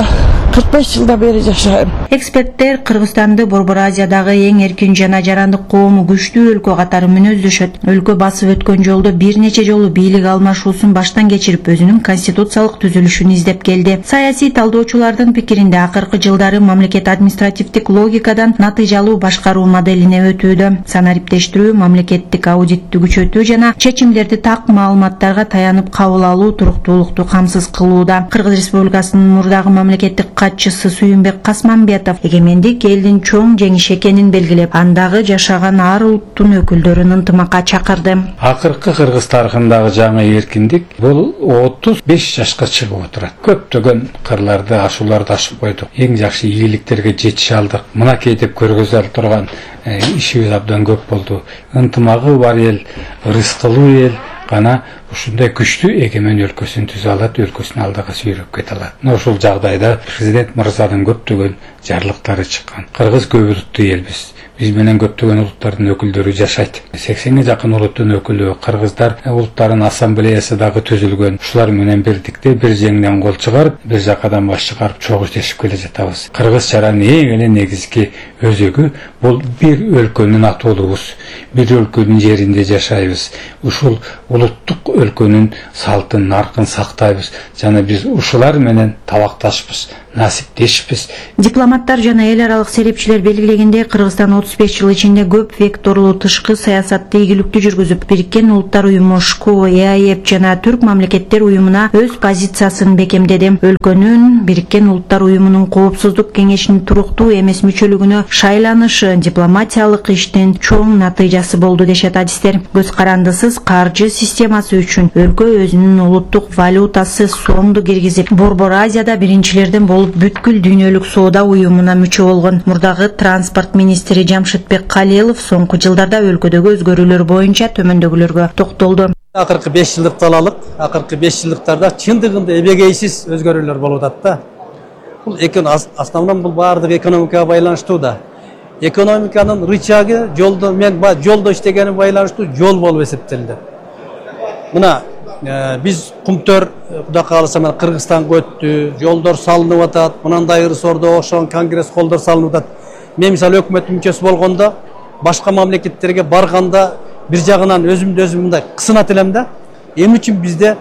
45 жылда бери жашайм. Эксперттер Кыргызстанды Борбор Азиядагы эң эркин жана жарандык коому күчтүү өлкө катары мүнөздөшөт. Өлкө басып өткөн жолдо бир нече жолу бийлик алмашуусун баштан кечирип, өзүнүн конституциялык түзүлүшүн издеп келди. Саясий талдоочулардын пикиринде акыркы жылдары мамлекет административдик логикадан натыйжалуу башкаруу моделине өтүүдө. Санариптештирүү, мамлекеттик аудитти күчөтүү жана чечимдерди так маалыматтарга таянып кабыл алуу туруктуулукту камсыз кылууда. Кыргыз Республикасынын мурдагы мамлекеттик катчысы Сүйүнбек Касманбетов эгемендик элдин чоң жеңиш экенин белгилеп, андагы жашаган ар улуттун өкүлдөрүн ынтымакка чакырды. Акыркы Кыргыз тарыхындагы жаңы эркиндик бул 35 жашка чыгып отурат. Көптөгөн кырларды, ашууларды ашып койдук. Эң жакшы ийгиликтерге жетише алдык. Мынакей деп көргөзө турган ишибиз абдан көп болду. Ынтымагы бар эл, ырыскылуу эл гана ушундай күчтүү эгемен өлкөсүн түзө алат, өлкөсүн алдыга сүйрөп кете алат. Ушул жагдайда президент мырзанын көптөгөн жарлыктары чыккан. Кыргыз көп улуттуу элбиз. Биз менен көптөгөн улуттардын өкүлдөрү жашайт. 80ге жакын улуттун өкүлү, кыргыздар улуттарынын ассамблеясы дагы түзүлгөн. Ушулар менен биrdikte бир жеңден кол чыгарып, бир жакадан баш чыгарып чогуу иштешип келе жатабыз. Кыргыз чаранын эң эле негизги өзөгү бул бир өлкөнүн атуулубуз. Бир өлкөнүн жеринде жашайбыз. Ушул улуттук өлкөнүн салтын, наркын сактайбыз. Жана биз ушулар менен табакташпыз, насиптешпиз. Дипломаттар жана эл аралык серепчилер белгилегендей, Кыргызстан 35 жыл ичинде көп векторлуу тышкы саясатты ийгиликтүү жүргүзүп, Бириккен Улуттар уюму, ШКУ, ЭАЭП жана Түрк мамлекеттер уюмуна өз позициясын бекемдеди. Өлкөнүн Бириккен Улуттар уюмунун Коопсуздук кеңешинин туруктуу эмес мүчөлүгүнө шайланышы дипломатиялык иштин чоң натыйжасы болду дешет адистер. Көз карандысыз каржы системасы үчүн өлкө өзүнүн улуттук валютасы сомду киргизип, Борбор Азияда биринчилерден болуп бүткүл дүйнөлүк соода уюмуна мүчө болгон. Мурдагы транспорт министри Жамшитбек Калилов соңку жылдарда өлкөдөгү өзгөрүүлөр боюнча төмөндөгүлөргө токтолду. Акыркы 5 жылдыкты алалык. Акыркы 5 жылдыктарда чындыгында эбегейсиз өзгөрүүлөр болуп атат да. Бул основном бул баардык экономикага байланыштуу да. Экономиканын рычагы жолдо жолдо иштегени байланыштуу жол болуп эсептелди. Мына биз кумтөр Кудай кааласа мен Кыргызстанга өттү, жолдор салынып атат, мындай ырсордо ошон конгресс холдор салынып атат. Мен мисалы өкмөт мүчөсү болгондо башка мамлекеттерге барганда бир жагынан өзүмдү мындай кысынат элем да. Эмне үчүн бизде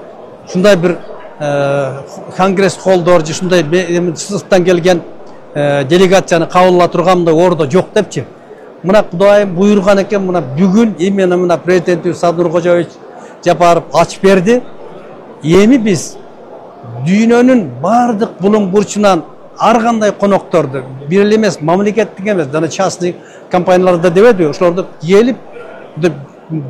ушундай бир конгресс холдор же ушундай сырттан келген делегацияны кабыл ала турган мындай ордо жок депчи. Мына Кудайым буйруган экен, мына бүгүн именно мына президентибиз Садыр Кожоевич Жапаров ачып берди. Эми биз дүйнөнүн бардык булуң бурчунан ар кандай конокторду, бир эле эмес, мамлекеттик эмес, жана частный компанияларда дебеди, ошолорду келип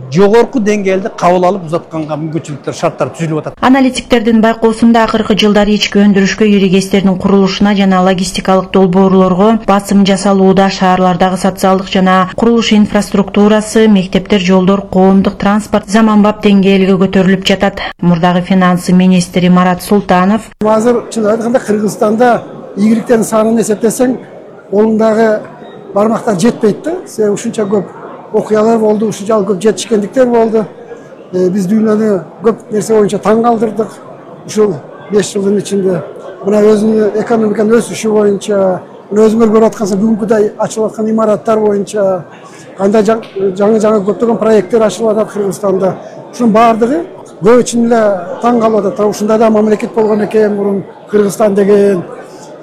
жогорку деңгээлде кабыл алып узатканга мүмкүнчүлүктөр, шарттар түзүлүп атат. Аналитиктердин байкоосунда акыркы жылдары ички өндүрүшкө иригестердин курулушуна жана логистикалык долбоорлорго басым жасалууда. Шаарлардагы социалдык жана курулуш инфраструктурасы, мектептер, жолдор, коомдук транспорт заманбап деңгээлге көтөрүлүп жатат. Мурдагы финансы министри Марат Султанов: Азыр чын айтканда Кыргызстанда ийгиликтердин санын эсептесең, колуңдагы бармактар жетпейт да. Себеби ушунча көп окуялар болду, ушунчалык көп жетишкендиктер болду. Биз дүйнөнү көп нерсе боюнча таң калтырдык. Ушул 5 жылдын ичинде мына өзүнүн экономиканын өсүшү боюнча, өзүңөр көрүп аткансыз бүгүнкүдөй ачылып аткан имараттар боюнча кандай жаңы көптөгөн проекттер ачылып атат Кыргызстанда. Ушунун баардыгы көп үчүн эле таң калып атат. Ушундай да мамлекет болгон экен мурун Кыргызстан деген.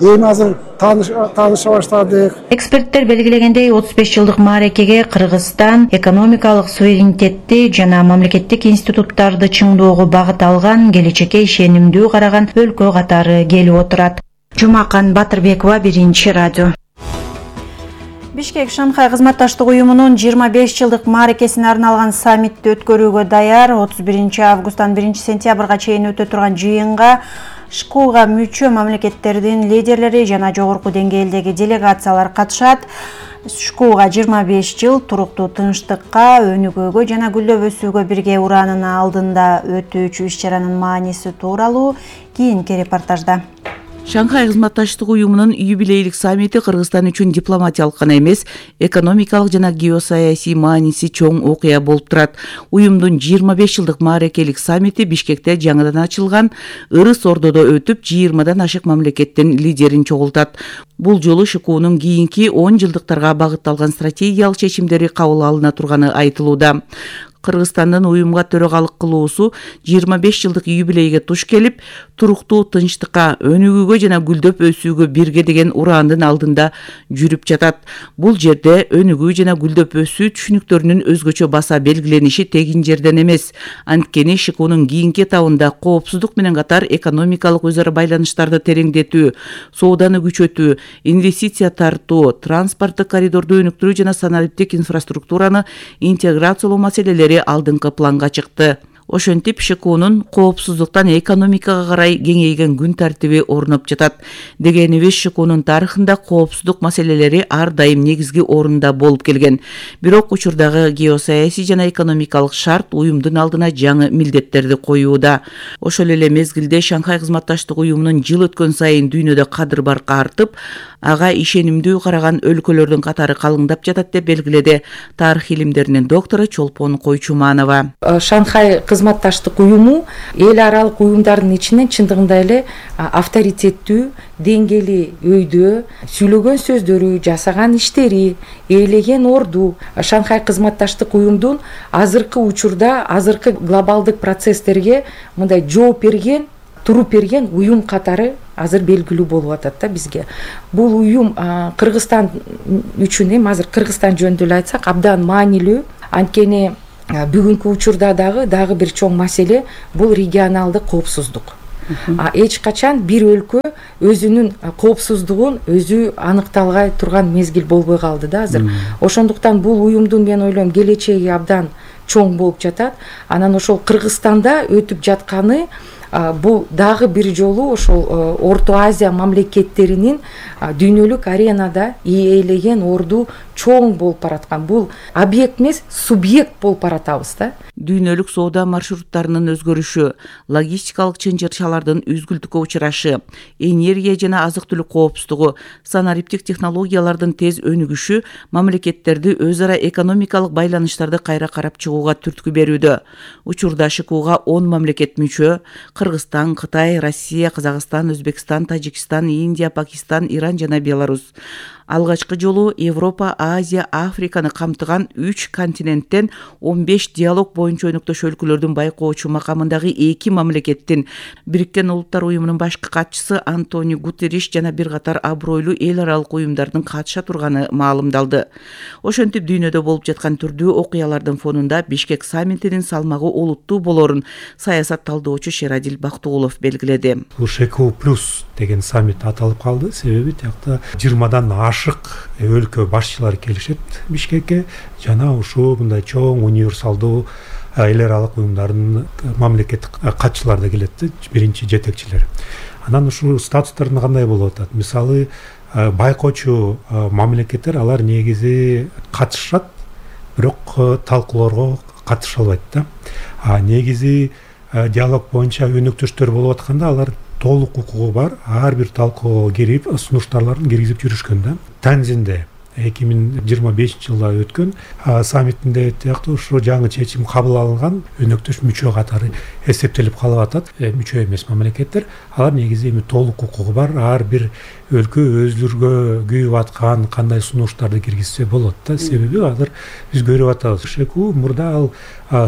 Эми азыр тааныша баштадык. Эксперттер белгилегендей, 35 жылдык маарекеге Кыргызстан экономикалык суверенитетти жана мамлекеттик институттарды чыңдоого багыт алган, келечекке ишенимдүү караган өлкө катары келип отурат. Жумакан Батырбекова, Биринчи радио. Бишкек Шанхай кызматташтык уюмунун 25 жылдык маарекесине арналган саммитти өткөрүүгө даяр. 31 августтан 1 сентябрга чейин өтө турган жыйынга ШКУга мүчө мамлекеттердин лидерлери жана жогорку деңгээлдеги делегациялар катышат. ШКУга 25 жыл туруктуу тынчтыкка, өнүгүүгө жана гүлдөп өсүүгө бирге ураанын алдында өтүүчү иш-чаранын мааниси тууралуу кийинки репортажда. Шанхай кызматташтык уюмунун юбилейлик саммити Кыргызстан үчүн дипломатиялык гана эмес, экономикалык жана геосаясий мааниси чоң окуя болуп турат. Уюмдун 25 жылдык маарекелик саммити Бишкекте жаңыдан ачылган ырыс ордодо өтүп, 20дан ашык мамлекеттин лидерин чогултат. Бул жолу ШКУнун кийинки 10 жылдыктарга багытталган стратегиялык чечимдери кабыл алына турганы айтылууда. Кыргызстандын уюмга төрөгалык кылуусу 25 жылдык юбилейге туш келип, туруктуу тынчтыкка, өнүгүүгө жана гүлдөп өсүүгө бирге деген ураандын алдында жүрүп жатат. Бул жерде өнүгүү жана гүлдөп өсүү түшүнүктөрүнүн өзгөчө баса белгилениши тегин жерден эмес. Анткени ШКУнун кийинки этабында коопсуздук менен катар экономикалык өзара байланыштарды тереңдетүү, сооданы күчөтүү, инвестиция тартуу, транспорттук коридорду өнүктүрүү жана санариптик инфраструктураны интеграциялоо маселелери алдыңкы планга чыкты. Ошентип ШКУнун коопсуздуктан экономикага карай кеңейген күн тартиби орноп жатат. Дегенибиз ШКУнун тарыхында коопсуздук маселелери ар дайым негизги орунда болуп келген. Бирок учурдагы геосаясий жана экономикалык шарт уюмдун алдына жаңы милдеттерди коюуда. Ошол эле мезгилде Шанхай кызматташтык уюмунун жыл өткөн сайын дүйнөдө кадыр баркы артып, ага ишенимдүү караган өлкөлөрдүн катары калыңдап жатат деп белгиледи тарых илимдеринин доктору Чолпон Койчуманова. Шанхай кызматташтык уюму эл аралык уюмдардын ичинен чындыгында эле авторитеттүү, деңгээли өйдө, сүйлөгөн сөздөрү, жасаган иштери, ээлеген орду Шанхай кызматташтык уюмдун азыркы учурда азыркы глобалдык процесстерге мындай жооп берген, туруп берген уюм катары азыр белгилүү болуп атат да бизге. Бул уюм Кыргызстан үчүн азыр Кыргызстан жөнүндө эле айтсак абдан маанилүү. Анткени бүгүнкү учурда дагы бир чоң маселе бул регионалдык коопсуздук. Эч качан бир өлкө өзүнүн коопсуздугун өзү аныкталгай турган мезгил болбой калды да азыр. Ошондуктан бул уюмдун мен ойлойм келечеги абдан чоң болуп жатат. Анан ошол Кыргызстанда өтүп жатканы бул дагы бир жолу ошол Орто Азия мамлекеттеринин дүйнөлүк аренада ээлеген орду чоң болуп бараткан. Бул объект эмес, субъект болуп баратабыз да. Дүйнөлүк соода маршруттарынын өзгөрүшү, логистикалык чынжырчалардын үзгүлтүккө учурашы, энергия жана азык-түлүк коопсуздугу, санариптик технологиялардын тез өнүгүшү мамлекеттерди өз ара экономикалык байланыштарды кайра карап чыгууга түрткү берүүдө. Учурда ШКУга 10 мамлекет мүчө: Кыргызстан, Кытай, Россия, Казакстан, Өзбекстан, Тажикстан, Индия, Пакистан, Иран жана Беларусь. Алгачкы жолу Европа, Азия, Африканы камтыган 3 континенттен 15 диалог боюнча өнөктөш өлкөлөрдүн байкоочу макамындагы 2 мамлекеттин Бириккен Улуттар уюмунун башкы катчысы Антонио Гутерриш жана бир катар абройлуу эл аралык уюмдардын катыша турганы маалымдалды. Ошентип дүйнөдө болуп жаткан түрдүү окуялардын фонунда Бишкек саммитинин салмагы олуттуу болорун саясат талдоочу Шерадил Бактыгулов белгиледи. ШКУ плюс деген саммит аталып калды. Себеби тиякта 20дан ашык өлкө башчылары келишет Бишкекке жана ушул мындай чоң универсалдуу эл аралык уюмдардын мамлекеттик катчылары да келет, биринчи жетекчилер. Анан ушул статустардын кандай болуп атат? Мисалы, байкоочу мамлекеттер алар негизи катышат, бирок талкууларга катыша албайт да. Негизи диалог боюнча өнөктөштөр болуп атканда алар толук укугу бар, ар бир талкууга кирип, сунуштарларын киргизип жүрүшкөн да. Танзинде 2025-жылда өткөн саммитинде тиякты ушу жаңы чечим кабыл алынган өнөктөш мүчө катары эсептелип калып атат. Мүчө эмес мамлекеттер алар негизи эми толук укугу бар, ар бир өлкө өзүлөргө күйүп аткан кандай сунуштарды киргизсе болот да. Себеби азыр биз көрүп атабыз, ШКУ мурда ал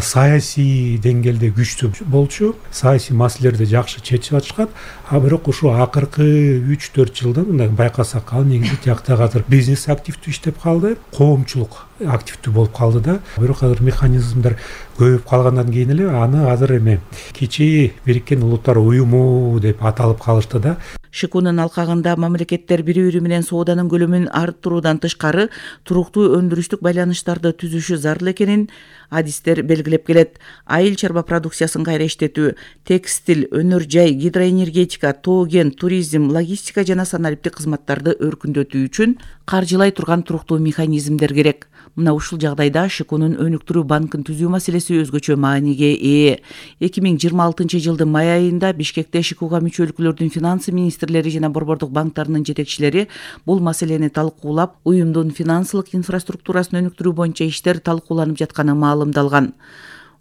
саясий деңгээлде күчтүү болчу, саясий маселелерди жакшы чечип атышкан. Бирок ушу акыркы 3-4 жылда мындай байкасак, ал негизи тиякта азыр бизнес активдүү иштеп калды, коомчулук активдүү болуп калды да. Бирок азыр механизмдер көбөйүп калгандан кийин эле аны азыр эми кичи Бириккен Улуттар уюму деп аталып калышты да. ШКУнун алкагында мамлекеттер бири-бири менен сооданын көлөмүн арттыруудан тышкары туруктуу өндүрүштүк байланыштарды түзүшү зарыл экенин адистер белгилеп келет. Айыл чарба продукциясын кайра иштетүү, текстиль, өнөр жай, гидроэнергетика, тоо кен, туризм, логистика жана санариптик кызматтарды өркүндөтүү үчүн каржылай турган туруктуу механизмдер керек. Мына ушул жагдайда ШКУнун өнүктүрүү банкын түзүү маселеси өзгөчө мааниге ээ. 2026-жылдын май айында Бишкекте ШКУга мүчө өлкөлөрдүн финансы министрлери жана борбордук банктарынын жетекчилери бул маселени талкуулап, уюмдун финансылык инфраструктурасын өнүктүрүү боюнча иштер талкууланып жатканы маалымдалган.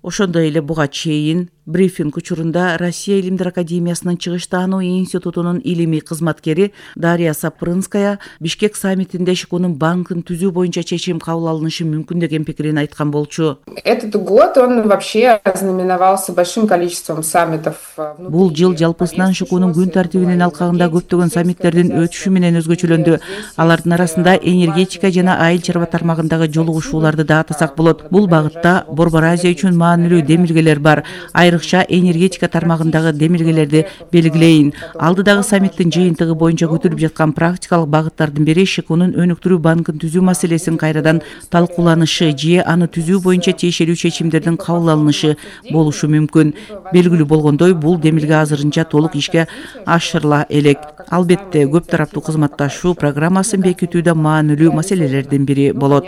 Ошондой эле буга чейин брифинг учурунда Россия илимдер академиясынын чыгыш таануу институтунун илимий кызматкери Дарья Сапрынская Бишкек саммитинде ШКУнун банкын түзүү боюнча чечим кабыл алынышы мүмкүн деген пикирин айткан болчу. Этот год он вообще ознаменовался большим количеством саммитов. Бул жыл жалпысынан ШКУнун күн тартибинин алкагында көптөгөн саммиттердин өтүшү менен өзгөчөлөндү. Алардын арасында энергетика жана айыл чарба тармагындагы жолугушууларды да атасак болот. Бул багытта Борбор Азия үчүн маанилүү демилгелер бар. айрыкча энергетика тармагындагы демилгелерди белгилейин. Алдыдагы саммиттин жыйынтыгы боюнча көтөрүлүп жаткан практикалык багыттардын бири ШКУнун өнүктүрүү банкын түзүү маселесин кайрадан талкууланышы же аны түзүү боюнча тиешелүү чечимдердин кабыл алынышы болушу мүмкүн. Белгилүү болгондой, бул демилге азырынча толук ишке ашырыла элек. Албетте, көп тараптуу кызматташуу программасын бекитүүдө маанилүү маселелердин бири болот.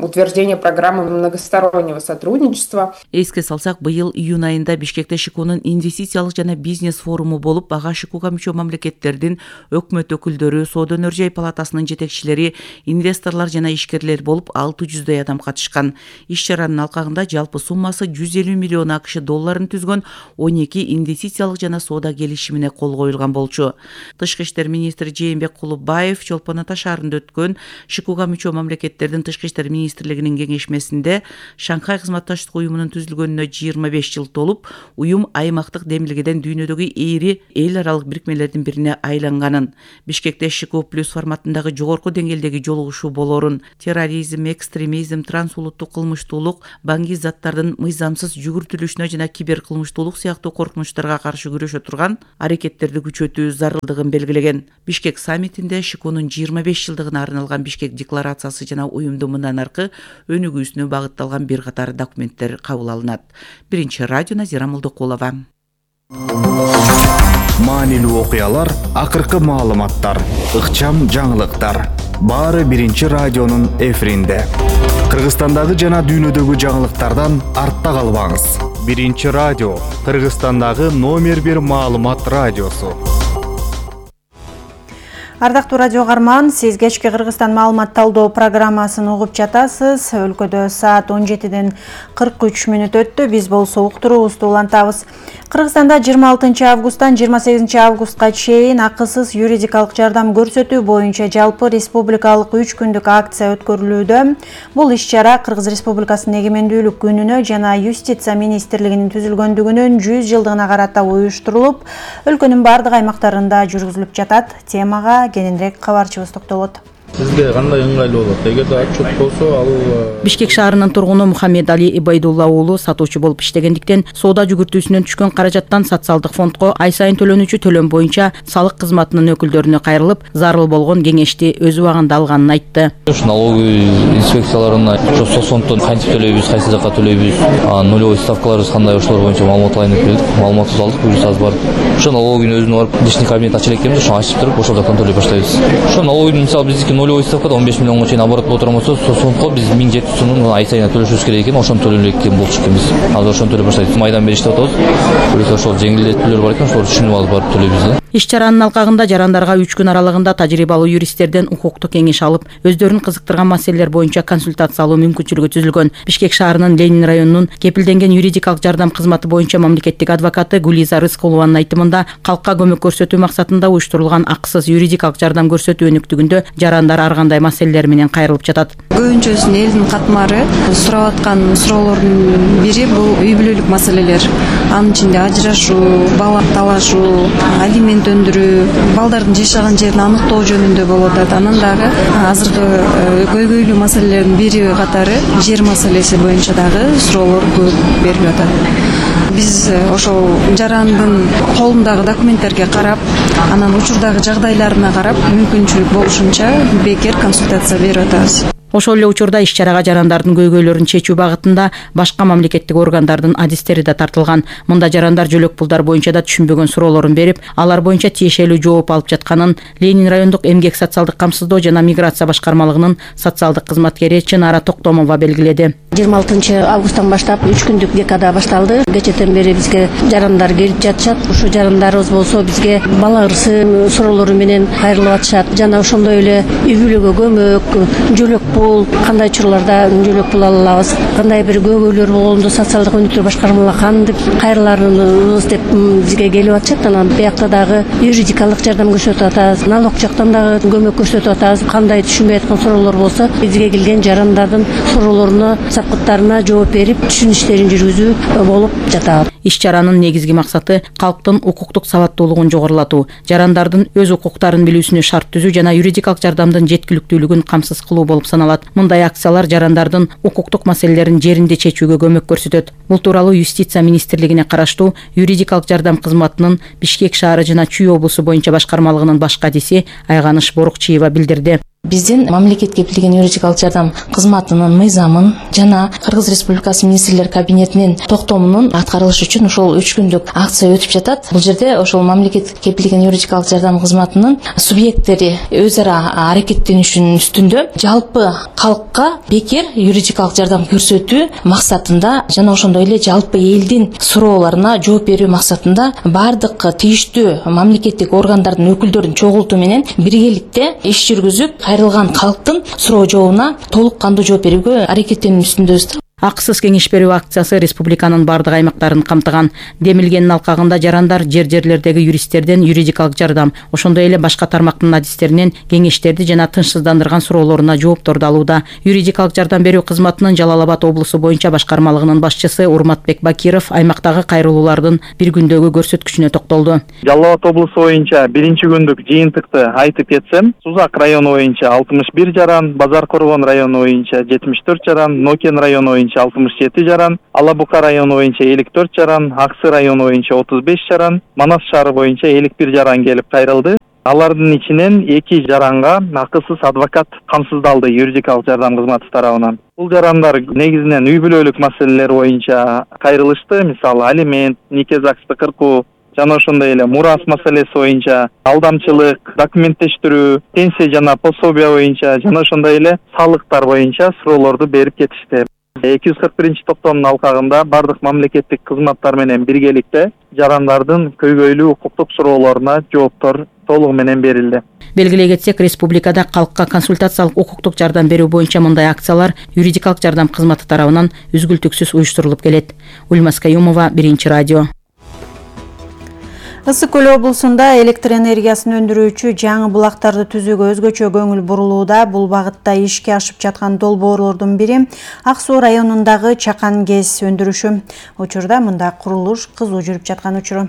Утверждение программы многостороннего сотрудничества. Эске салсак, быйыл июнь айында Бишкекте ШКУнун инвестициялык жана бизнес форуму болуп, ага ШКУга мүчө мамлекеттердин өкмөт өкүлдөрү, соода өнөр жай палатасынын жетекчилери, инвесторлор жана ишкерлер болуп 600 адам катышкан. Иш-чаранын алкагында жалпы суммасы 150 миллион АКШ долларын түзгөн 12 инвестициялык жана соода келишимине кол коюлган болчу. Тышкы иштер министри Жээнбек Кулубаев Чолпон Ата шаарында өткөн ШКУга мүчө мамлекеттердин тышкы иштер министрлигинин кеңешмесинде Шанхай кызматташтык уюмунун түзүлгөнүнө 25 жыл толуп, уюм аймактык демилгеден дүйнөдөгү эри эл аралык бирикмелердин бирине айланганын, Бишкекте ШКУ плюс форматындагы жогорку деңгээлдеги жолугушуу болорун, терроризм, экстремизм, трансулуттук кылмыштуулук, баңги заттардын мыйзамсыз жүгүртүлүшүнө жана кибер кылмыштуулук сыяктуу коркунучтарга каршы күрөшө турган аракеттерди күчөтүү зарылдыгын белгилеген. Бишкек саммитинде ШКУнун 25 жылдыгына арналган Бишкек декларациясы жана уюмдун мындан аркы өнүгүүсүнө багытталган бир катар документтер кабыл алынат. Биринчи радио Назира Молдокулова. Маанилүү окуялар, акыркы маалыматтар, ыкчам жаңылыктар. Баары биринчи радионун эфиринде. Кыргызстандагы жана дүйнөдөгү жаңылыктардан артта калбаңыз. Биринчи радио, Кыргызстандагы номер 1 маалымат радиосу. Ардактуу радио каарман, сиз кечки Кыргызстан маалымат талдоо программасын угуп жатасыз. Өлкөдө саат 17-ден 43 мүнөт өттү. Биз болсо уктуруубузду улантабыз. Кыргызстанда 26 августтан 28 августка чейин акысыз юридикалык жардам көрсөтүү боюнча жалпы республикалык 3 күндүк акция өткөрүлүүдө. Бул иш-чара Кыргыз Республикасынын эгемендүүлүк күнүнө жана Юстиция министрлигинин түзүлгөндүгүнүн 100 жылдыгына карата уюштурулуп, өлкөнүн бардык аймактарында жүргүзүлүп жатат. Темага кененирээк кабарчыбыз токтолот. Сизге кандай ыңгайлуу болот? Эгерде отчет болсо, ал Бишкек шаарынын тургуну Мухаммед Али Ибайдулла уулу сатуучу болуп иштегендиктен соода жүгүртүүсүнөн түшкөн каражаттан социалдык фондко ай сайын төлөнүүчү төлөм боюнча салык кызматынын өкүлдөрүнө кайрылып, зарыл болгон кеңешти өз убагында алганын айтты. Налоговый инспекцияларына соцфонддон кантип төлөйбүз, кайсы жакка төлөйбүз, нулевой ставкаларыбыз кандай, ошолор боюнча маалымат алайын деп келдик. Маалыматты алдык, буюрса аз бар. Ошо налоговыйдын өзүнө барып, личный кабинет ачып элекенбиз, ошону ачып туруп, ошол жактан төлөй баштайбыз. Ошо налоговыйдын мисалы биздики нулевой ставкада 15 миллионго чейин оборот боло турган болсо, соцфондко биз 1700 сомдон ай сайын төлөшүбүз керек экен, ошону төлөй экен болчу экенбиз. Азыр ошону төлөй баштайбыз. Майдан бери иштеп атабыз. Буюрса ошол жеңилдетүүлөр бар экен, ошолорду түшүнүп алып барып төлөйбүз. Иш-чаранын алкагында жарандарга 3 күн аралыгында тажрыйбалуу юристтерден укуктук кеңеш алып, өздөрүн кызыктырган маселелер боюнча консультация алуу мүмкүнчүлүгү түзүлгөн. Бишкек шаарынын Ленин районунун кепилденген юридикалык жардам кызматы боюнча мамлекеттик адвокаты Гулиза Рыскулованын айтымында, калкка көмөк көрсөтүү максатында уюштурулган акысыз юридикалык жардам көрсөтүү өнүктүгүндө жарандар ар кандай маселелер менен кайрылып жатат. Көбүнчөсүн элдин катмары сурап аткан суроолордун бири бул үй бүлөлүк маселелер. Анын ичинде ажырашуу, бала талашуу, алимент өндүрүү, балдардын жашаган жерин аныктоо жөнүндө болот. Анан дагы азыркы көйгөйлүү маселелердин бири катары жер маселеси боюнча дагы суроолор көп берилип атат. Биз ошол жарандын колундагы документтерге карап, анан учурдагы жагдайларына карап, мүмкүнчүлүк болушунча бекер консультация берип атабыз. Ошол эле учурда иш-чарага жарандардын көйгөйлөрүн чечүү багытында башка мамлекеттик органдардын адистери да тартылган. Мында жарандар жөлөк пулдар боюнча да түшүнбөгөн суроолорун берип, алар боюнча тиешелүү жооп алып жатканын Ленин райондук эмгек социалдык камсыздоо жана миграция башкармалыгынын социалдык кызматкери Чынара Токтомова белгиледи. 26 августтан баштап 3 күндүк декада башталды. Кечэтен бери бизге жарандар келип жатышат. Ушу жарандарыбыз болсо бизге бала ырсы суроолору менен кайрылып атышат. Жана ошондой эле үй бүлөгө көмөк, жөлөк пул, кандай учурларда жөлөк пул ала алабыз, кандай бир көйгөйлөр болгондо социалдык өнүктүрүү башкармаларына кантип кайрыларыбыз деп бизге келип атышат. Анан биякта дагы юридикалык жардам көрсөтүп атабыз, налог жактан дагы көмөк көрсөтүп атабыз. Кандай түшүнбөй аткан суроолор болсо бизге келген жарандардын суроолоруна, сапкыттарына жооп берип, түшүнүш иштерин жүргүзүү болуп жатат. Иш-чаранын негизги максаты калктын укуктук сабаттуулугун жогорулатуу, жарандардын өз укуктарын билүүсүнө шарт түзүү жана юридикалык жардамдын жеткиликтүүлүгүн камсыз кылуу болуп саналат. алат. Мындай акциялар жарандардын укуктук маселелерин жеринде чечүүгө көмөк көрсөтөт. Бул тууралуу Юстиция министрлигине караштуу юридикалык жардам кызматынын Бишкек шаары жана Чүй облусу боюнча башкармалыгынын баш кадиси Айганыш Борукчиева билдирди. Биздин мамлекет кепилген юридикалык жардам кызматынын мыйзамын жана Кыргыз Республикасы министрлер кабинетинин токтомунун аткарылышы үчүн ошол 3 күндүк акция өтүп жатат. Бул жерде ошол мамлекет кепилген юридикалык жардам кызматынын субъекттери өз ара аракеттенишинин үстүндө жалпы калкка бекер юридикалык жардам көрсөтүү максатында жана ошондой эле жалпы элдин суроолоруна жооп берүү максатында бардык тийиштүү мамлекеттик органдардын өкүлдөрүн чогултуу менен биргеликте иш жүргүзүп кайрылган калктын суроо жообуна толук кандуу жооп берүүгө аракеттенүү үстүндөбүз. Акысыз кеңеш берүү акциясы республиканын бардык аймактарын камтыган. Демилгендин алкагында жарандар жерлердеги юристтерден юридикалык жардам, ошондой эле башка тармактын адистеринен кеңештерди жана тынчсыздандырган суроолоруна жоопторду алууда. Юридикалык жардам берүү кызматынын Жалал Абад облусу боюнча башкармалыгынын башчысы Урматбек Бакиров аймактагы кайрылуулардын бир күндөгү көрсөткүчүнө токтолду. Жалал Абад облусу боюнча биринчи күндүк жыйынтыкты айтып кетсем, Сузак району боюнча 61 жаран, Базар Коргон району боюнча 74 жаран, Нокен району боюнча 67 жаран, Алабука району боюнча 54 жаран, Аксы району боюнча 35 жаран, Манас шаары боюнча 51 жаран келип кайрылды. Алардын ичинен 2 жаранга акысыз адвокат камсыздалды юридикалык жардам кызматы тарабынан. Бул жарандар негизинен үй бүлөлүк маселелер боюнча кайрылышты, мисалы алимент, нике загсты кыркуу жана ошондой эле мурас маселеси боюнча алдамчылык, документтештирүү, пенсия жана пособия боюнча жана ошондой эле салыктар боюнча суроолорду берип кетишти. 241 токтомдун алкагында бардык мамлекеттик кызматтар менен биргеликте жарандардын көйгөйлүү укуктук суроолоруна жооптор толугу менен берилди. Белгилей кетсек, республикада калкка консультациялык укуктук жардам берүү боюнча мындай акциялар юридикалык жардам кызматы тарабынан үзгүлтүксүз уюштурулуп келет. Ульмас Каюмова, Биринчи радио. Ысык Көл облусунда электр энергиясын өндүрүүчү жаңы булактарды түзүүгө өзгөчө көңүл бурулууда. Бул багытта ишке ашып жаткан долбоорлордун бири Ак Суу районундагы Чакан ГЭС өндүрүшү. Учурда мында курулуш кызуу жүрүп жаткан учуру.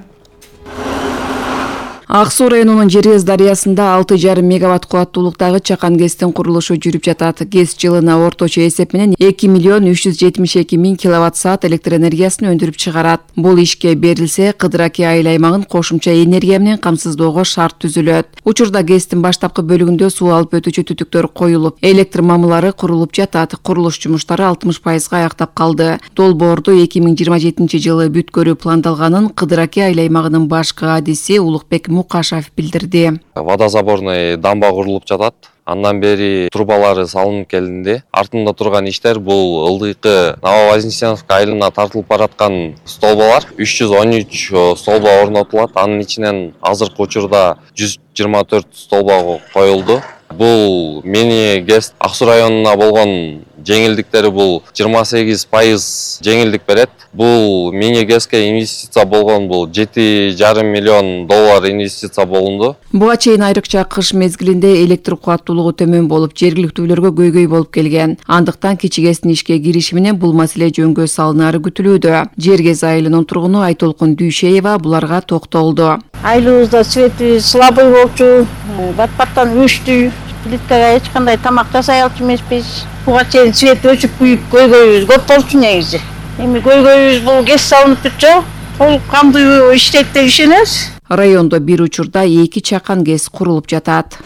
Ак Суу районунун Жерез дарыясында 6,5 мегаватт кубаттуулуктагы Чакан ГЭСтин курулушу жүрүп жатат. ГЭС жылына орточо эсеп менен 2 миллион 372 миң киловатт саат электр энергиясын өндүрүп чыгарат. Бул ишке берилсе, Кыдыраки айыл аймагын кошумча энергия менен камсыздоого шарт түзүлөт. Учурда ГЭСтин баштапкы бөлүгүндө суу алып өтүүчү түтүктөр коюлуп, электр мамылары курулуп жатат. Курулуш жумуштары 60% аяктап калды. Долбоорду 2027 жылы бүткөрүү пландалганын Кыдыраки айыл аймагынын баш кадиси Улукбек Мукашев билдирди. Водозаборный дамба курулуп жатат. Андан бери трубалары салынып келинди. Артында турган иштер бул ылдыйкы Нововознесеновка айылына тартылып бараткан столбалар. 313 столба орнотулат. Анын ичинен азыркы учурда 124 столба коюлду. Бул мини ГЭС Ак Суу районуна болгон жеңилдиктери бул 28% жеңилдик берет. Бул мини ГЭСке инвестиция болгон бул 7,5 миллион доллар инвестиция болунду. Буга чейин айрыкча кыш мезгилинде электр кубаттуулугу төмөн болуп, жергиликтүүлөргө көйгөй болуп келген. Андыктан кичи ГЭСтин ишке кириши менен бул маселе жөнгө салынары күтүлүүдө. Жергез айылынын тургуну Айтолкун Дүйшеева буларга токтолду. Айылыбызда свети слабый болчу, бат-баттан өчтү. Плиткага эч кандай тамак жасай алчу эмеспиз. Буга чейин свет өчүп күйүп көйгөйүбүз көп болчу негизи. Эми көйгөйүбүз бул ГЭС салынып турчу. Толук кандуу иштейт деп ишенебиз. Райондо бир учурда 2 Чакан ГЭС курулуп жатат.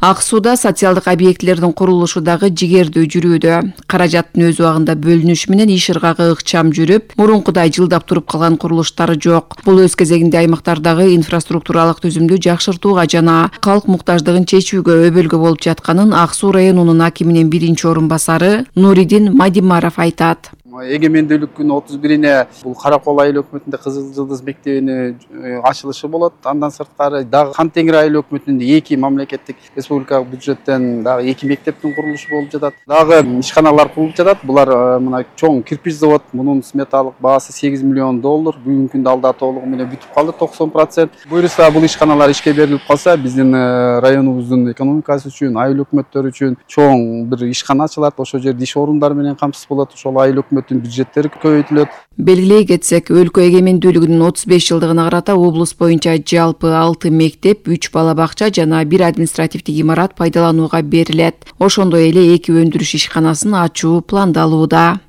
Ак Сууда социалдык объектилердин курулушу дагы жигердүү жүрүүдө. Каражаттын өз убагында бөлүнүшү менен иш ыргагы ыкчам жүрүп, мурункудай жылдап туруп калган курулуштар жок. Бул өз кезегинде аймактардагы инфраструктуралык түзүмдү жакшыртууга жана калк муктаждыгын чечүүгө өбөлгө болуп жатканын Ак Суу районунун акиминин биринчи орун басары Нуридин Мадимаров айтат. Эгемендүүлүктүн 31-ине бул Каракол айыл өкмөтүндө Кызыл Жылдыз мектебинин ачылышы болот. Андан сырткары дагы Кантеңир айыл өкмөтүндө 2 мамлекеттик республикалык бюджеттен дагы 2 мектептин курулушу болуп жатат. Дагы ишканалар курулуп жатат. Булар мына чоң кирпич завод, мунун сметалык баасы 8 миллион доллар. Бүгүнкү күндө алда толугу менен бүтүп калды 90%. Буюрса бул ишканалар ишке берилип калса, биздин районубуздун экономикасы үчүн, айыл өкмөттөр үчүн чоң бир ишкана ачылат. Ошол жерде иш орундары менен камсыз болот. Ошол айыл өкмөт өкмөттүн бюджеттери көбөйтүлөт. Белгилей кетсек, өлкө эгемендүүлүгүнүн 35 жылдыгына карата облус боюнча жалпы 6 мектеп, 3 бала бакча жана 1 административдик имарат пайдаланууга берилет. Ошондой эле 2 өндүрүш ишканасын ачуу пландалууда.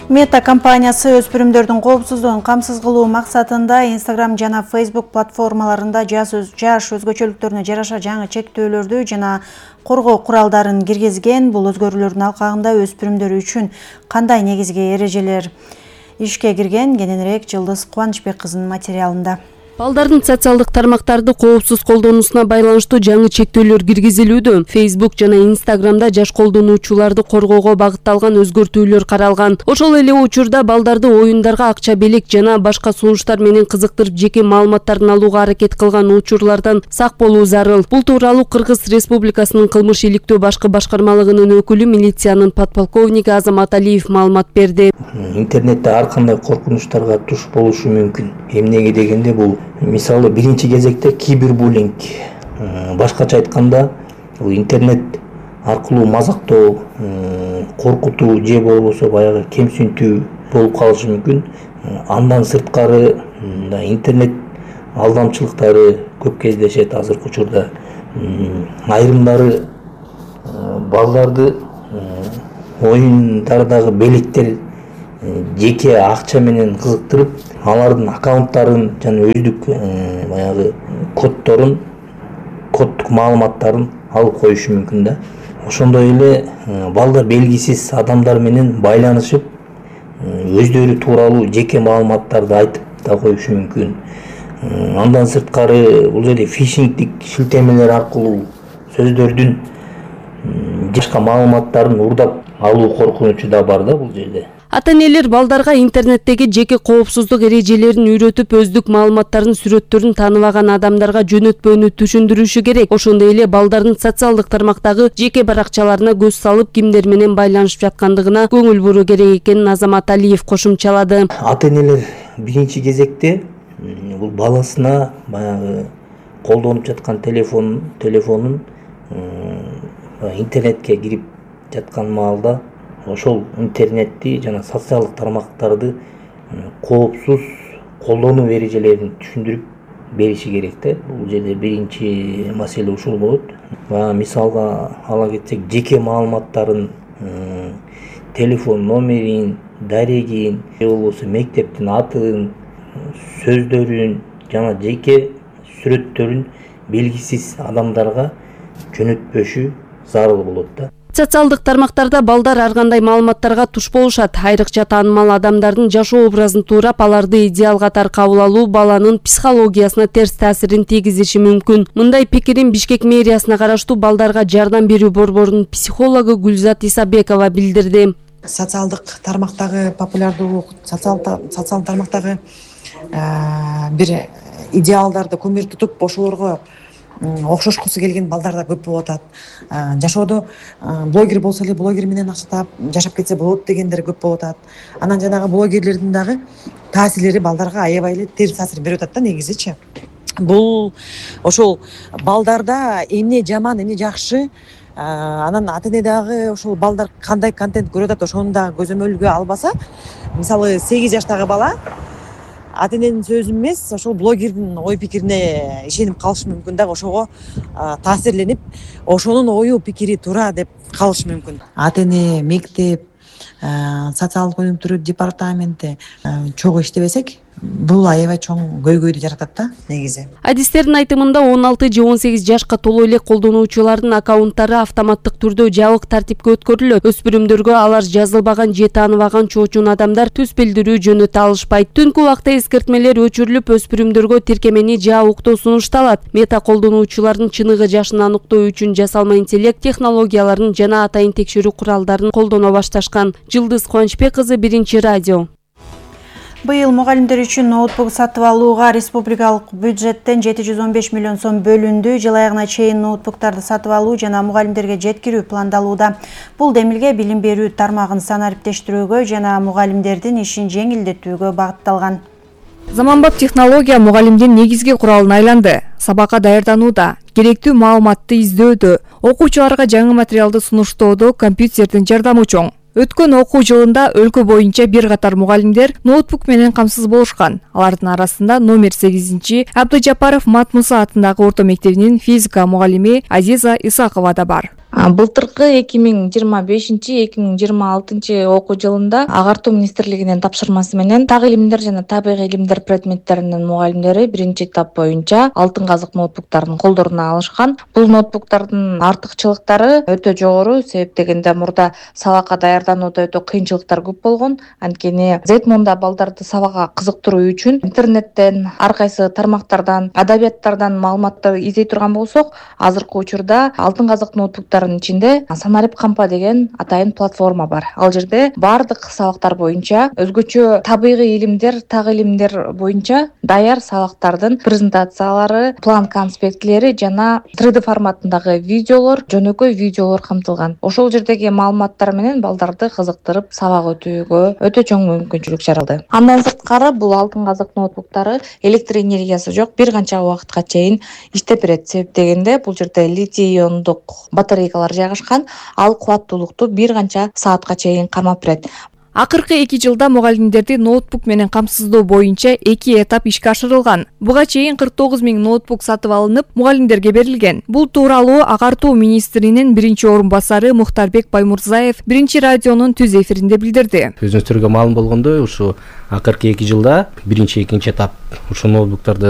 Мета компаниясы өспүрүмдөрдүн коопсуздугун камсыз кылуу максатында Instagram жана Facebook платформаларында жаш өзгөчөлүктөрүнө жараша жаңы чектөөлөрдү жана коргоо куралдарын киргизген. Бул өзгөрүүлөрдүн алкагында өспүрүмдөр үчүн кандай негизги эрежелер ишке кирген? Кененирээк Жылдыз Кубанычбек кызынын материалында. Балдардын социалдык тармактарды коопсуз колдонуусуна байланыштуу жаңы чектөөлөр киргизилүүдө. Facebook жана Instagramда жаш колдонуучуларды коргоого багытталган өзгөртүүлөр каралган. Ошол эле учурда балдарды оюндарга акча белек жана башка сунуштар менен кызыктырып жеке маалыматтарын алууга аракет кылган учурлардан сак болуу зарыл. Бул тууралуу Кыргыз Республикасынын кылмыш иликтөө башкы башкармалыгынын өкүлү милициянын подполковниги Азамат Алиев маалымат берди. Интернетте ар кандай коркунучтарга туш болушу мүмкүн. Эмнеге дегенде бул мисалы биринчи кезекте кибербуллинг, башкача айтканда интернет аркылуу мазактоо, коркутуу же болбосо баягы кемсинтүү болуп калышы мүмкүн. Андан сырткары интернет алдамчылыктары көп кездешет азыркы учурда. Айрымдары балдарды оюндардагы белектер жеке акча менен кызыктырып, алардын аккаунттарын жана өздүк баягы кодторун, коддук маалыматтарын алып коюшу мүмкүн да. Ошондой эле балдар белгисиз адамдар менен байланышып, өздөрү тууралуу жеке маалыматтарды айтып да коюшу мүмкүн. Андан сырткары бул жерде фишингдик шилтемелер аркылуу сөздөрдүн башка маалыматтарын урдап алуу коркунучу да бар да бул жерде. Ата-энелер балдарга интернеттеги жеке коопсуздук эрежелерин үйрөтүп, өздүк маалыматтарын, сүрөттөрүн тааныбаган адамдарга жөнөтпөөнү түшүндүрүшү керек. Ошондой эле балдардын социалдык тармактагы жеке баракчаларына көз салып, кимдер менен байланышып жаткандыгына көңүл буруу керек экенин Азамат Алиев кошумчалады. Ата-энелер биринчи кезекте бул баласына баягы колдонуп жаткан телефонун интернетке кирип жаткан маалда ошол интернетти жана социалдык тармактарды коопсуз колдонуу эрежелерин түшүндүрүп бериши керек да. Бул жерде биринчи маселе ушул болот. Мисалга ала кетсек, жеке маалыматтарын, телефон номерин, дарегин, же болбосо мектептин атын, сөздөрүн жана жеке сүрөттөрүн белгисиз адамдарга жөнөтпөшү зарыл болот да. Социалдык тармактарда балдар ар кандай маалыматтарга туш болушат. Айрыкча таанымал адамдардын жашоо образын туурап, аларды идеал катары кабыл алуу баланын психологиясына терс таасирин тийгизиши мүмкүн. Мындай пикирин Бишкек мэриясына караштуу балдарга жардам берүү борборунун психологу Гүлзат Исабекова билдирди. Социалдык тармактагы популярдуу социалдык тармактагы бир идеалдарды көмүр тутуп ошолорго окшошкусу келген балдар да көп болуп атат. Жашоодо блогер болсо эле блогер менен акча таап жашап кетсе болот дегендер көп болуп атат. Анан жанагы блогерлердин дагы таасирлери балдарга аябай эле терс таасир берип атат да негизичи. Бул ошол балдарда эмне жаман, эмне жакшы, анан ата-эне дагы ошол балдар кандай контент көрүп атат ошону дагы көзөмөлгө албаса, мисалы 8 жаштагы бала ата-эненин сөзү эмес, ошол блогердин ой пикирине ишенип калышы мүмкүн да, ошого таасирленип, ошонун ою пикири туура деп калышы мүмкүн. Ата-эне, мектеп, социалдык өнүктүрүү департаменти чогуу иштебесек, бул аябай чоң көйгөйдү жаратат да негизи. Адистердин айтымында 16 же 18 жашка толуу эле колдонуучулардын аккаунттары автоматтык түрдө жабык тартипке өткөрүлөт. Өспүрүмдөргө алар жазылбаган же тааныбаган чоочун адамдар түс билдирүү жөнөтө алышпайт. Түнкү убакта эскертмелер өчүрүлүп, өспүрүмдөргө тиркемени жабыктоо сунушталат. Мета колдонуучулардын чыныгы жашын аныктоо үчүн жасалма интеллект технологияларын жана атайын текшерүү куралдарын колдоно башташкан. Жылдыз Кубанычбек кызы, Биринчи радио. Быйыл мугалимдер үчүн ноутбук сатып алууга республикалык бюджеттен 715 миллион сом бөлүндү. Жыл аягына чейин ноутбуктарды сатып алуу жана мугалимдерге жеткирүү пландалууда. Бул демилге билим берүү тармагын санариптештирүүгө жана мугалимдердин ишин жеңилдетүүгө багытталган. Заманбап технология мугалимдин негизги куралына айланды. Сабакка даярданууда, керектүү маалыматты издөөдө, окуучуларга жаңы материалды сунуштоодо компьютердин жардамы чоң. Өткөн окуу жылында өлкө боюнча бир катар мугалимдер ноутбук менен камсыз болушкан. Алардын арасында номер 8 Абдыжапаров Матмуса атындагы орто мектебинин физика мугалими Азиза Исакова да бар. Былтыркы 2025-2026 окуу жылында Агартуу министрлигинин тапшырмасы менен так илимдер жана табигый илимдер предметтеринин мугалимдери биринчи этап боюнча алтын казык ноутбуктарын колдоруна алышкан. Бул ноутбуктардын артыкчылыктары өтө жогору, себеп дегенде мурда сабакка даярданууда өтө кыйынчылыктар көп болгон. Анткени Зетмунда балдарды сабакка кызыктыруу үчүн интернеттен, ар кайсы тармактардан, адабияттардан маалыматтар издей турган болсок, азыркы учурда алтын казык ноутбуктар ичинде Санарип кампа деген атайын платформа бар. Ал жерде бардык сабактар боюнча өзгөчө табигый илимдер, так илимдер боюнча даяр сабактардын презентациялары, план конспектилери жана 3D форматындагы видеолор, жөнөкөй видеолор камтылган. Ошол жердеги маалыматтар менен балдарды кызыктырып сабак өтүүгө өтө чоң мүмкүнчүлүк жаралды. Андан сырткары бул алтын казык ноутбуктары электр энергиясы жок, бир канча убакытка чейин иштеп берет. Себеп дегенде бул жерде литий иондук батарейкалар жайгашкан, ал кубаттуулукту бир канча саатка чейин кармап берет. Акыркы 2 жылда мугалимдерди ноутбук менен камсыздоо боюнча 2 этап ишке ашырылган. Буга чейин 49 000 ноутбук сатып алынып, мугалимдерге берилген. Бул тууралуу Агартуу министринин биринчи орун басары Мухтарбек Баймурзаев биринчи радионун түз эфиринде билдирди. Өзүңүздөргө маалым болгондой, ушу акыркы 2 жылда биринчи, экинчи этап ушу ноутбуктарды